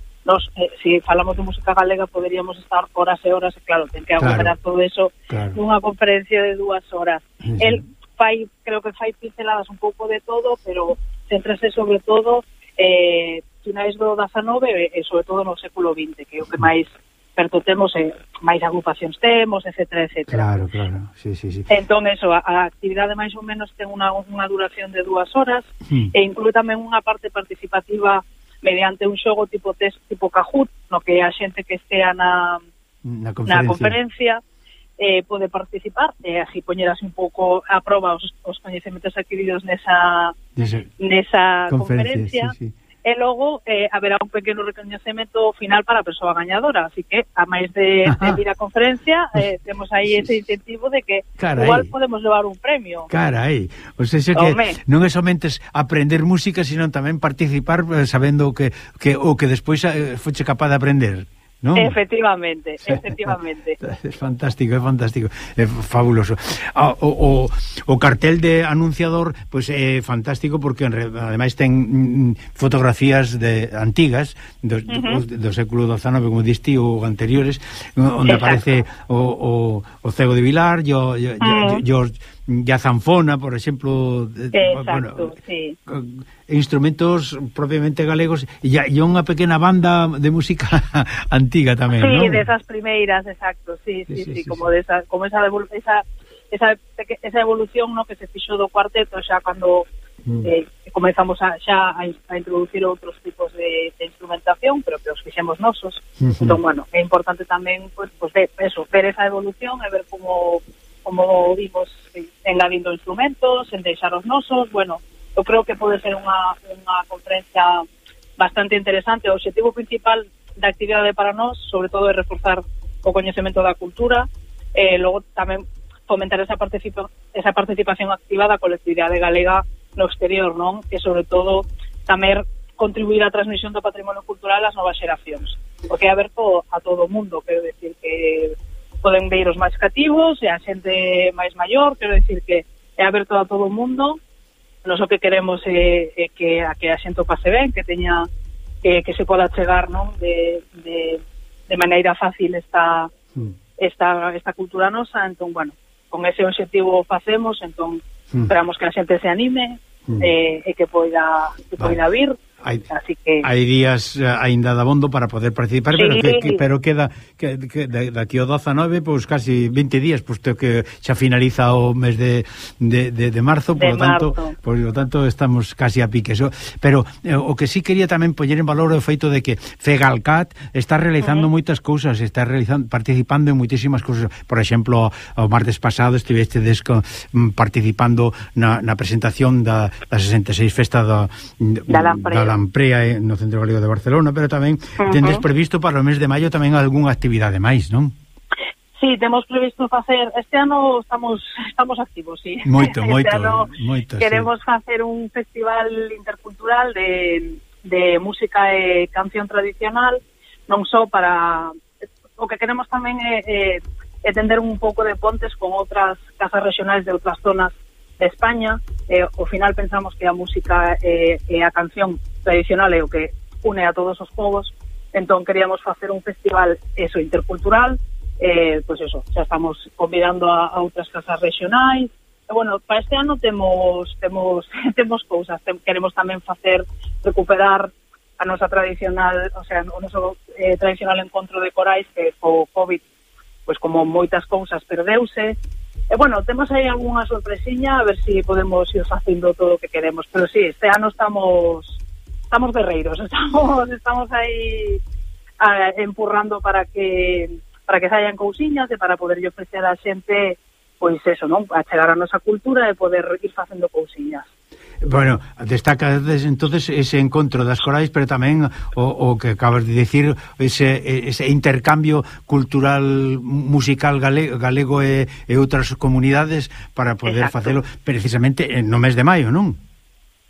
se falamos de música galega poderíamos estar horas e horas, e claro, ten que aglomerar todo eso nunha conferencia de 2 horas. El creo que fai pinceladas un pouco de todo, pero céntrase sobre todo finais do 19 e sobre todo no século XX, que é o que máis perto temos, máis agrupacións temos, etcétera. Claro, sí. Entón, a actividade máis ou menos ten unha duración de 2 horas, e inclúe tamén unha parte participativa mediante un xogo tipo test, tipo Kahoot, no que a xente que estea na conferencia pode participar, e así poñerase un pouco a prova os coñecementos adquiridos nesa conferencia. Sí. E logo haberá un pequeno recoñecemento final para a persoa gañadora, así que a máis de ir á conferencia temos aí ese incentivo de que igual podemos levar un premio. Carai, o sea, que non é somente aprender música, sino tamén participar sabendo que o que despois foche capaz de aprender, non? Efectivamente. É fantástico, é fabuloso. O cartel de anunciador pois é fantástico, porque ademais ten fotografías antigas do século XIX, como diste, ou anteriores, onde aparece o Cego de Vilar, George a zanfona, por exemplo, exacto, sí. Instrumentos propiamente galegos e unha pequena banda de música antiga tamén, sí, non? Sí, desas primeiras, exacto, sí, como esa evolución, no, que se fixo do cuarteto xa cando comezamos a introducir outros tipos de instrumentación, pero que os fixemos nosos. Entón, bueno, é importante tamén pues ver esa evolución e ver como vimos engadindo instrumentos, en deixar os nosos. Bueno, eu creo que pode ser unha conferencia bastante interesante. O obxectivo principal da actividade para nós, sobre todo, é reforzar o coñecemento da cultura, logo tamén fomentar esa participación activa da colectividade galega no exterior, non? E sobre todo tamén contribuir á transmisión do patrimonio cultural ás novas xeracións, porque é aberto a todo o mundo, quero decir que poden ver os máis cativos e a xente máis maior, quero decir que é aberto a todo o mundo. Nós o que queremos é que a xente o pase ben, que teña que se poda chegar, non, de maneira fácil esta cultura nosa. Entón, bueno, con ese objetivo facemos, entón esperamos que a xente se anime e que poida vir. Así que hai días aínda dabondo para poder participar, sí. pero queda que daqui ao 19, pois casi 20 días, posto que xa finaliza o mes de marzo, por lo tanto estamos casi a pique. Pero o que sí quería tamén poñer en valor o feito de que Fegalcat está realizando moitas cousas, participando en moitísimas cousas. Por exemplo, o martes pasado estivestedes participando na presentación da 66 festa da Lamprea no Centro Galego de Barcelona, pero tamén tendes previsto para o mes de maio tamén algunha actividade máis, non? Sí, temos previsto facer, este ano estamos activos, sí. Moito. Queremos facer un festival intercultural de música e canción tradicional, non só para... O que queremos tamén é tender un pouco de pontes con outras casas regionais de outras zonas de España. Ao final pensamos que a música e a canción tradicional é o que une a todos os povos, entón queríamos facer un festival intercultural, pois xa estamos convidando a outras casas regionais. E bueno, para este ano temos cousas, queremos tamén recuperar a nosa tradicional, o sea, o noso tradicional encontro de corais que co COVID, pois como moitas cousas perdeuse. E bueno, temos aí algunha sorpresiña, a ver se podemos ir facendo todo o que queremos, pero sí, este ano estamos guerreiros, estamos aí empurrando para que saian cousiñas e para poder ofrecer a xente, pois eso, non? A chegar a nosa cultura e poder ir facendo cousiñas. Bueno, destaca entonces ese encontro das corais, pero tamén o que acabas de decir, ese intercambio cultural musical galego e outras comunidades para poder facelo precisamente no mes de maio, non?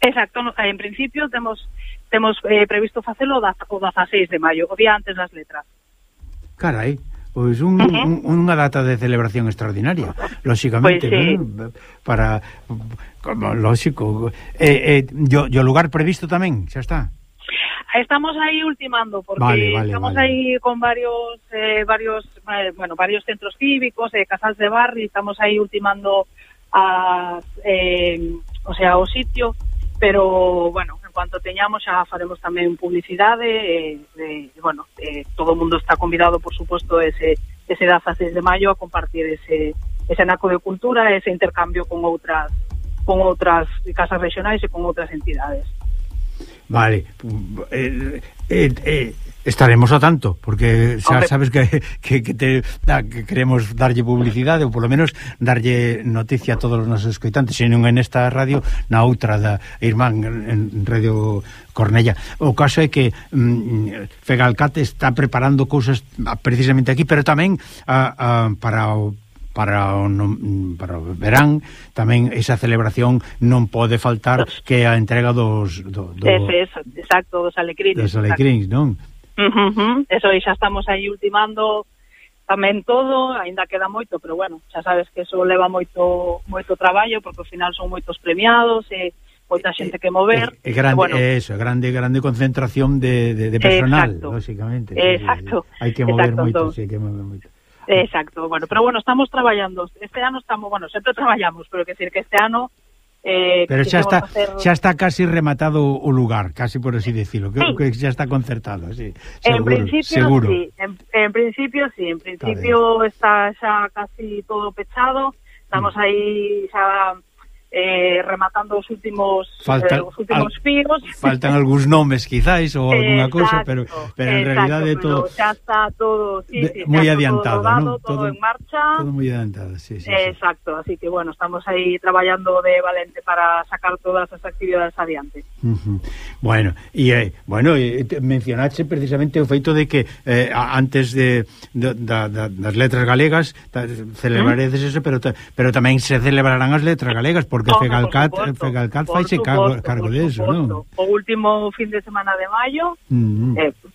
Exacto, en principio temos previsto facelo o 16 de maio, o día antes das letras. Carai, pois unha data de celebración extraordinaria, lóxicamente, pues sí. ¿No? Para, como lógico, o lugar previsto tamén, xa está. Estamos aí ultimando, porque estamos aí con varios centros cívicos, casas de barrio, estamos aí ultimando o sitio, pero, bueno, en cuanto teñamos xa faremos tamén publicidade, todo o mundo está convidado, por suposto, ese 16 de maio a compartir ese naco de cultura, ese intercambio con outras casas regionais e con outras entidades. Vale, estaremos ao tanto, porque xa sabes que queremos darlle publicidade, ou polo menos darlle noticia a todos os nosos escoitantes, se non en esta radio, na outra da Irmán, en Radio Cornella. O caso é que Fegalcat está preparando cousas precisamente aquí, pero tamén para o verán tamén esa celebración non pode faltar, que a entrega dos alecrins, non? Eso, e xa estamos aí ultimando tamén todo, aínda queda moito, pero bueno, xa sabes que eso leva moito traballo, porque ao final son moitos premiados e moita xente que mover. Grande concentración de personal, lógicamente. Exacto. Hai que mover moito, hai que mover moito. Exacto, bueno, pero bueno, estamos traballando. Este ano estamos, bueno, sempre traballamos, pero que decir que este ano pero xa está casi rematado o lugar, casi por así decirlo, que xa está concertado, sí. Seguro. En principio está xa casi todo pechado. Estamos aí xa rematando os últimos fíos. Faltan algúns nomes quizás ou alguna cousa, pero en realidade todo xa está todo moi adiantado, todo rodado, ¿no? todo en marcha. Todo moi adiantado, sí. Exacto, así que bueno, estamos aí traballando de valente para sacar todas as actividades adiante. Bueno, mencionaste precisamente o feito de que antes das letras galegas celebraredes eso, pero tamén se celebrarán as letras galegas, porque Fegalcat faise cargo de eso, ¿no? O último fin de semana de maio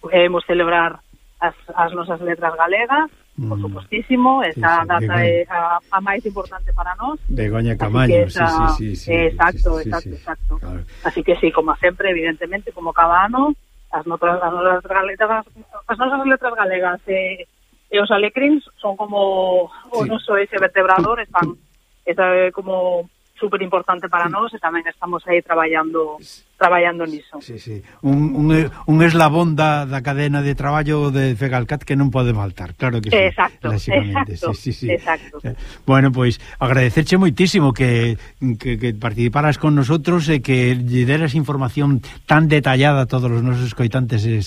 podemos celebrar as nosas letras galegas, por supostísimo, esa data é a máis importante para nós. Begoña Camaño, sí. Exacto. Claro. Así que sí, como sempre, evidentemente, como cada ano, as nosas letras galegas e os alecríns son como o noso ese vertebrador, están como super importante para nós e tamén estamos aí traballando niso. Sí. Un eslabón da cadena de traballo de Fegalcat que non pode faltar, claro que sí. Exacto. Sí. Bueno, pois agradecerche moitísimo que participaras con nosotros e que lle deras información tan detallada a todos os nosos escoitantes e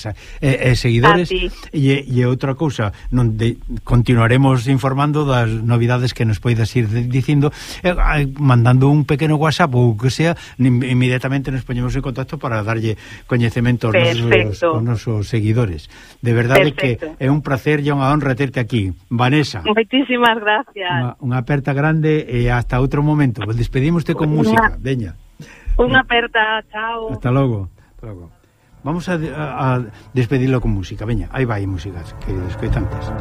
seguidores. E outra cousa, continuaremos informando das novidades que nos poidas ir dicindo, mandando un pequeno WhatsApp ou que sea, inmediatamente nos poñemos en contacto para darlle coñecemento aos nosos seguidores. De verdade que é un placer e unha honra terte aquí, Vanessa. Moitísimas gracias. Unha aperta grande e hasta outro momento. Despedímoste con música, veña. Unha aperta, chao. Hasta logo. Vamos a despedirlo con música, veña. Aí vai músicas, que escoitantes.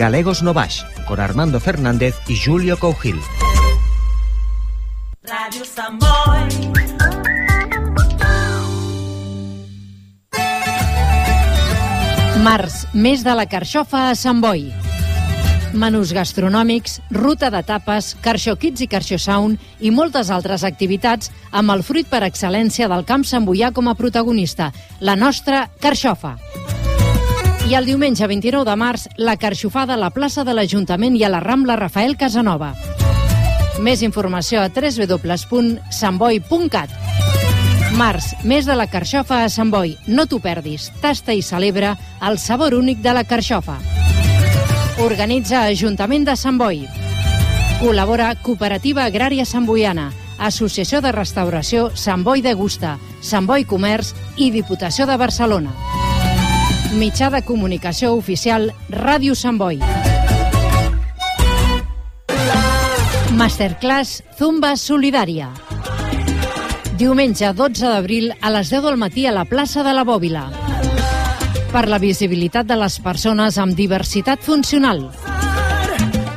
Galegos no Baix, con Armando Fernández y Julio Cougil. Radio Samboy. Març, mes de la carxofa a Sant Boi. Menús gastronòmics, ruta de tapes, Carxo Kids i Carxo Sound i moltes altres activitats amb el fruit per excel·lència del camp samboià com a protagonista, la nostra carxofa. I el diumenge 29 de març, la carxofada a la plaça de l'Ajuntament i a la Rambla Rafael Casanova. Més informació a www.santboi.cat. Març, mes de la carxofa a Sant Boi. No t'ho perdis. Tasta i celebra el sabor únic de la carxofa. Organitza Ajuntament de Sant Boi. Col·labora Cooperativa Agrària Samboiana, Associació de Restauració Sant Boi Degusta, Sant Boi Comerç i Diputació de Barcelona. Mitjà de comunicació oficial Ràdio Sant Boi. Masterclass Zumba Solidària. Diumenge 12 d'abril a les 10 del matí a la plaça de la Bòbila. Per la visibilitat de les persones amb diversitat funcional.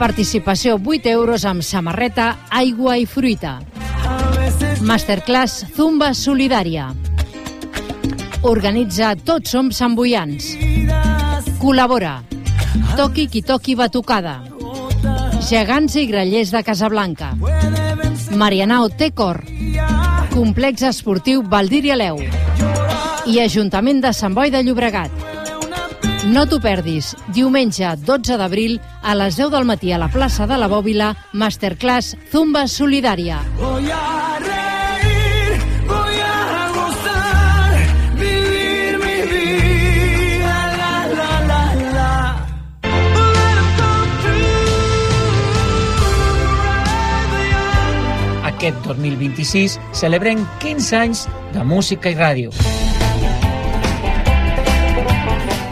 Participació 8 euros amb samarreta, aigua i fruita. Masterclass Zumba Solidària. Organitza Tots som samboians. Col·labora Toqui qui toqui batucada. Gegants i grallers de Casablanca. Marianao té cor. Complex esportiu Valdir i Aleu i Ajuntament de Sant Boi de Llobregat. No t'ho perdis, diumenge 12 d'abril a les 10 del matí a la plaça de la Bòbila, Masterclass Zumba Solidària. Voy a reír, voy a gozar, vivir mi vida, la, la, la, la. Aquest 2026 celebrem 15 anys de música i ràdio.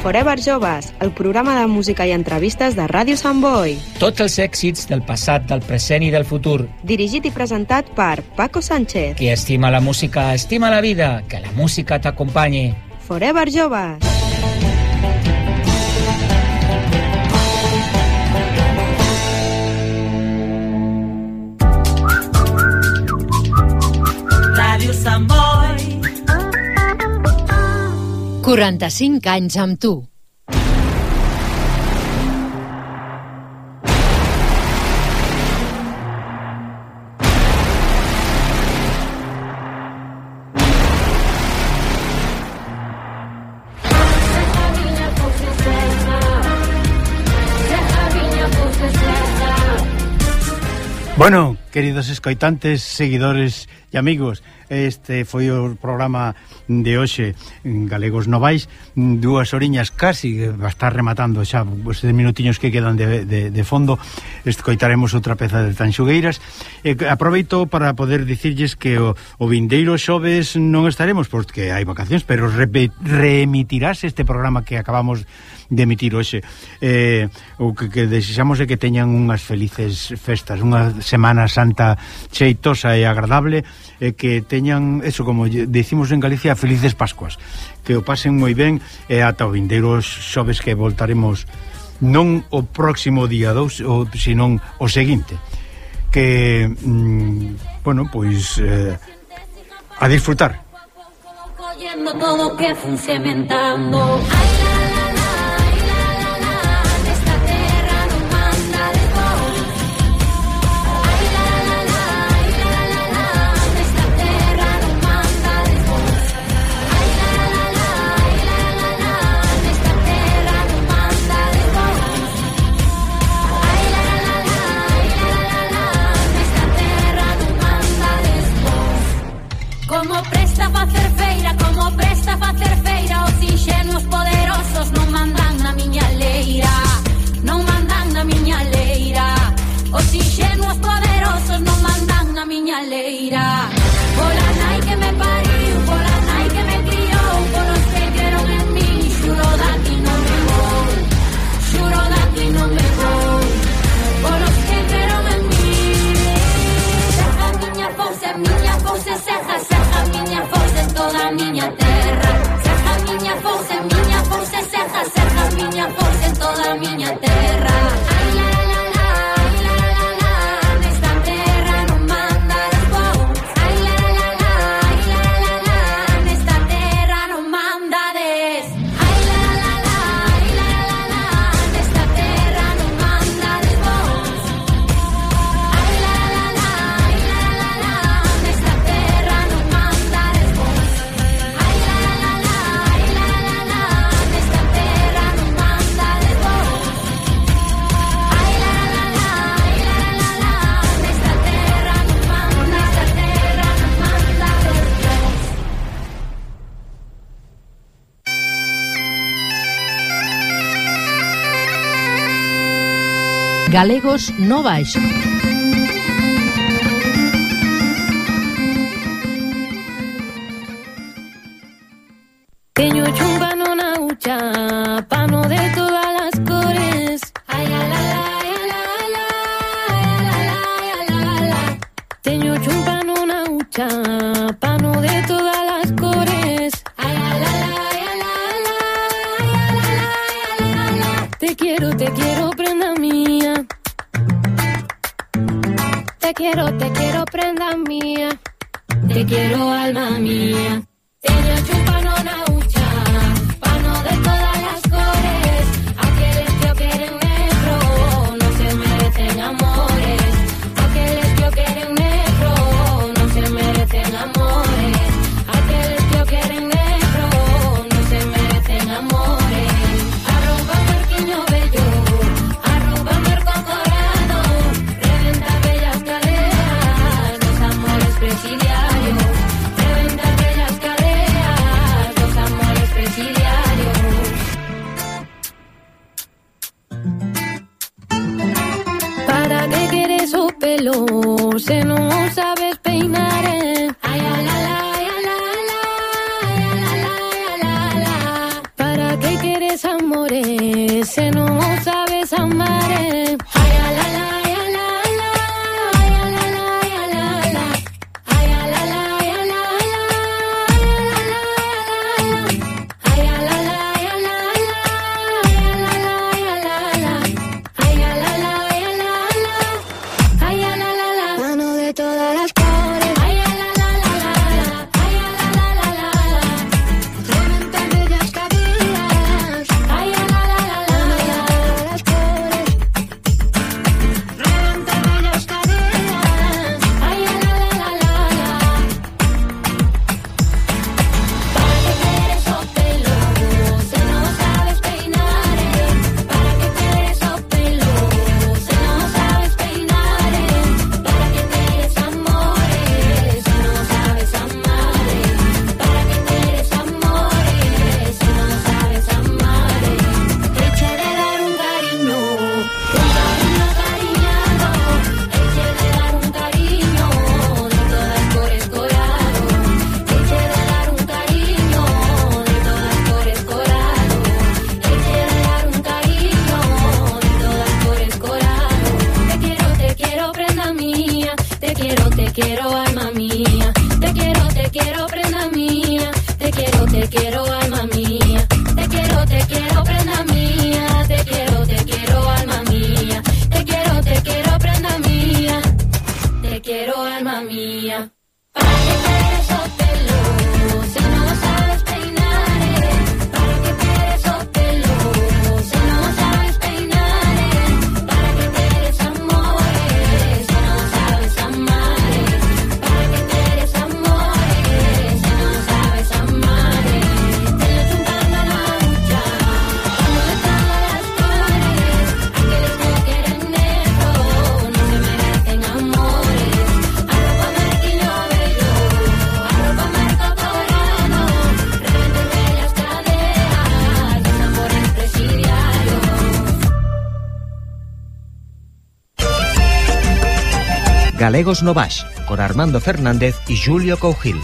Forever Joves, el programa de música i entrevistes de Ràdio Sant Boi. Tots els èxits del passat, del present i del futur. Dirigit i presentat per Paco Sánchez. Qui estima la música, estima la vida. Que la música t'acompanyi. Forever Joves. Ràdio Sant Boi. 45 anys amb tu. Bueno, queridos escoitantes, seguidores e amigos, este foi o programa de hoxe en Galegos no Baix, 2 horiñas casi, va a estar rematando xa os 10 minutiños que quedan de fondo. Escoitaremos outra peza de Tanxugueiras. Aproveito para poder dicirlles que o vindeiro xoves non estaremos porque hai vacacións, pero reemitirás este programa que acabamos de emitir hoxe. O que desexamos é que teñan unhas felices festas, unha Semana Santa cheitosa e agradable, e que teñan, eso como decimos en Galicia, felices Pascuas, que o pasen moi ben, e ata o vindeiro xoves que voltaremos non o próximo día 2, senón o seguinte, que bueno, pois a disfrutar. Todo que fun cementando. Como presta facer feira, os inxenuos poderosos non mandan na miña leira, non mandan na miña leira. Os inxenuos poderosos non mandan na miña leira. Pola nai que me pariu, pola nai que me criou, polos que creron en mí, xuro daqui non me vou, xuro daqui non me vou, polos que creron en mí. Seja miña forza, seja miña forza en toda a miña terra. Seja miña forza, seja miña forza en toda a miña terra. Galegos no baixo. Teño chumbano na hucha, pano de todas las cores. Ay, la, la, la, la. Teño chumbano na hucha, pano de todas las cores. Ay, la, la. Te quiero, prenda mía. Te quiero, prenda mía. Te quiero, alma mía. Teño chumbano na hucha, pano de todas las cores. Aquellos que quieren negro no se merecen amores. Aquellos que quieren negro no se merecen amores. Aquellos que quieren negro no se merecen amores. Arroba marquiño bello, arroba marco corado. Reventa bellas caderas, los amores presidiarios. Reventa bellas caderas, los amores presidiarios. ¿Para qué quieres su pelo? Se no sabes peinar, Ay, la, la, la, la. ¿Para qué quieres amores? Se no sabes amar, Ay, la, la, la, la. Ay, la, la, la. Ay, la, la, la. Mano de todas las cores. Reventa bellas caderas. Mano de todas las cores. Reventa bellas caderas. ¿Para qué quieres esos pelos? Si no sabes peinar, ¿para qué quieres esos pelos? Si no sabes peinar, ¿para qué quieres amores? Si no sabes amar, ¿para qué quieres amores? Si no sabes amar, eche de dar un cariño cariñado, eche de dar un cariño de todas cores corado, eche de dar un cariño de todas cores corado, eche de dar un cariño de todas cores corado. Te quiero, prenda mía. Te quiero, alma mía. Te quiero, prenda mía. Te quiero, alma mía. Te quiero, prenda mía. Te quiero, alma mía. Te quiero, prenda mía. Te quiero, alma mía. ¿Para qué quieres esos pelos? Si no sabes peinar, ¿para qué quieres esos pelos? Si no sabes peinar, ¿para qué quieres amores? Si no sabes amar, ¿para qué quieres amores? Si no sabes amar, teño chumbando na hucha, pano de todas las cores. Aquellos que quieren negro no se merecen amores. Arroba marquiño bello, arroba marco corado. Reventa bellas caderas, los amores presidiarios. Galegos no baix, con Armando Fernández y Julio Cougil.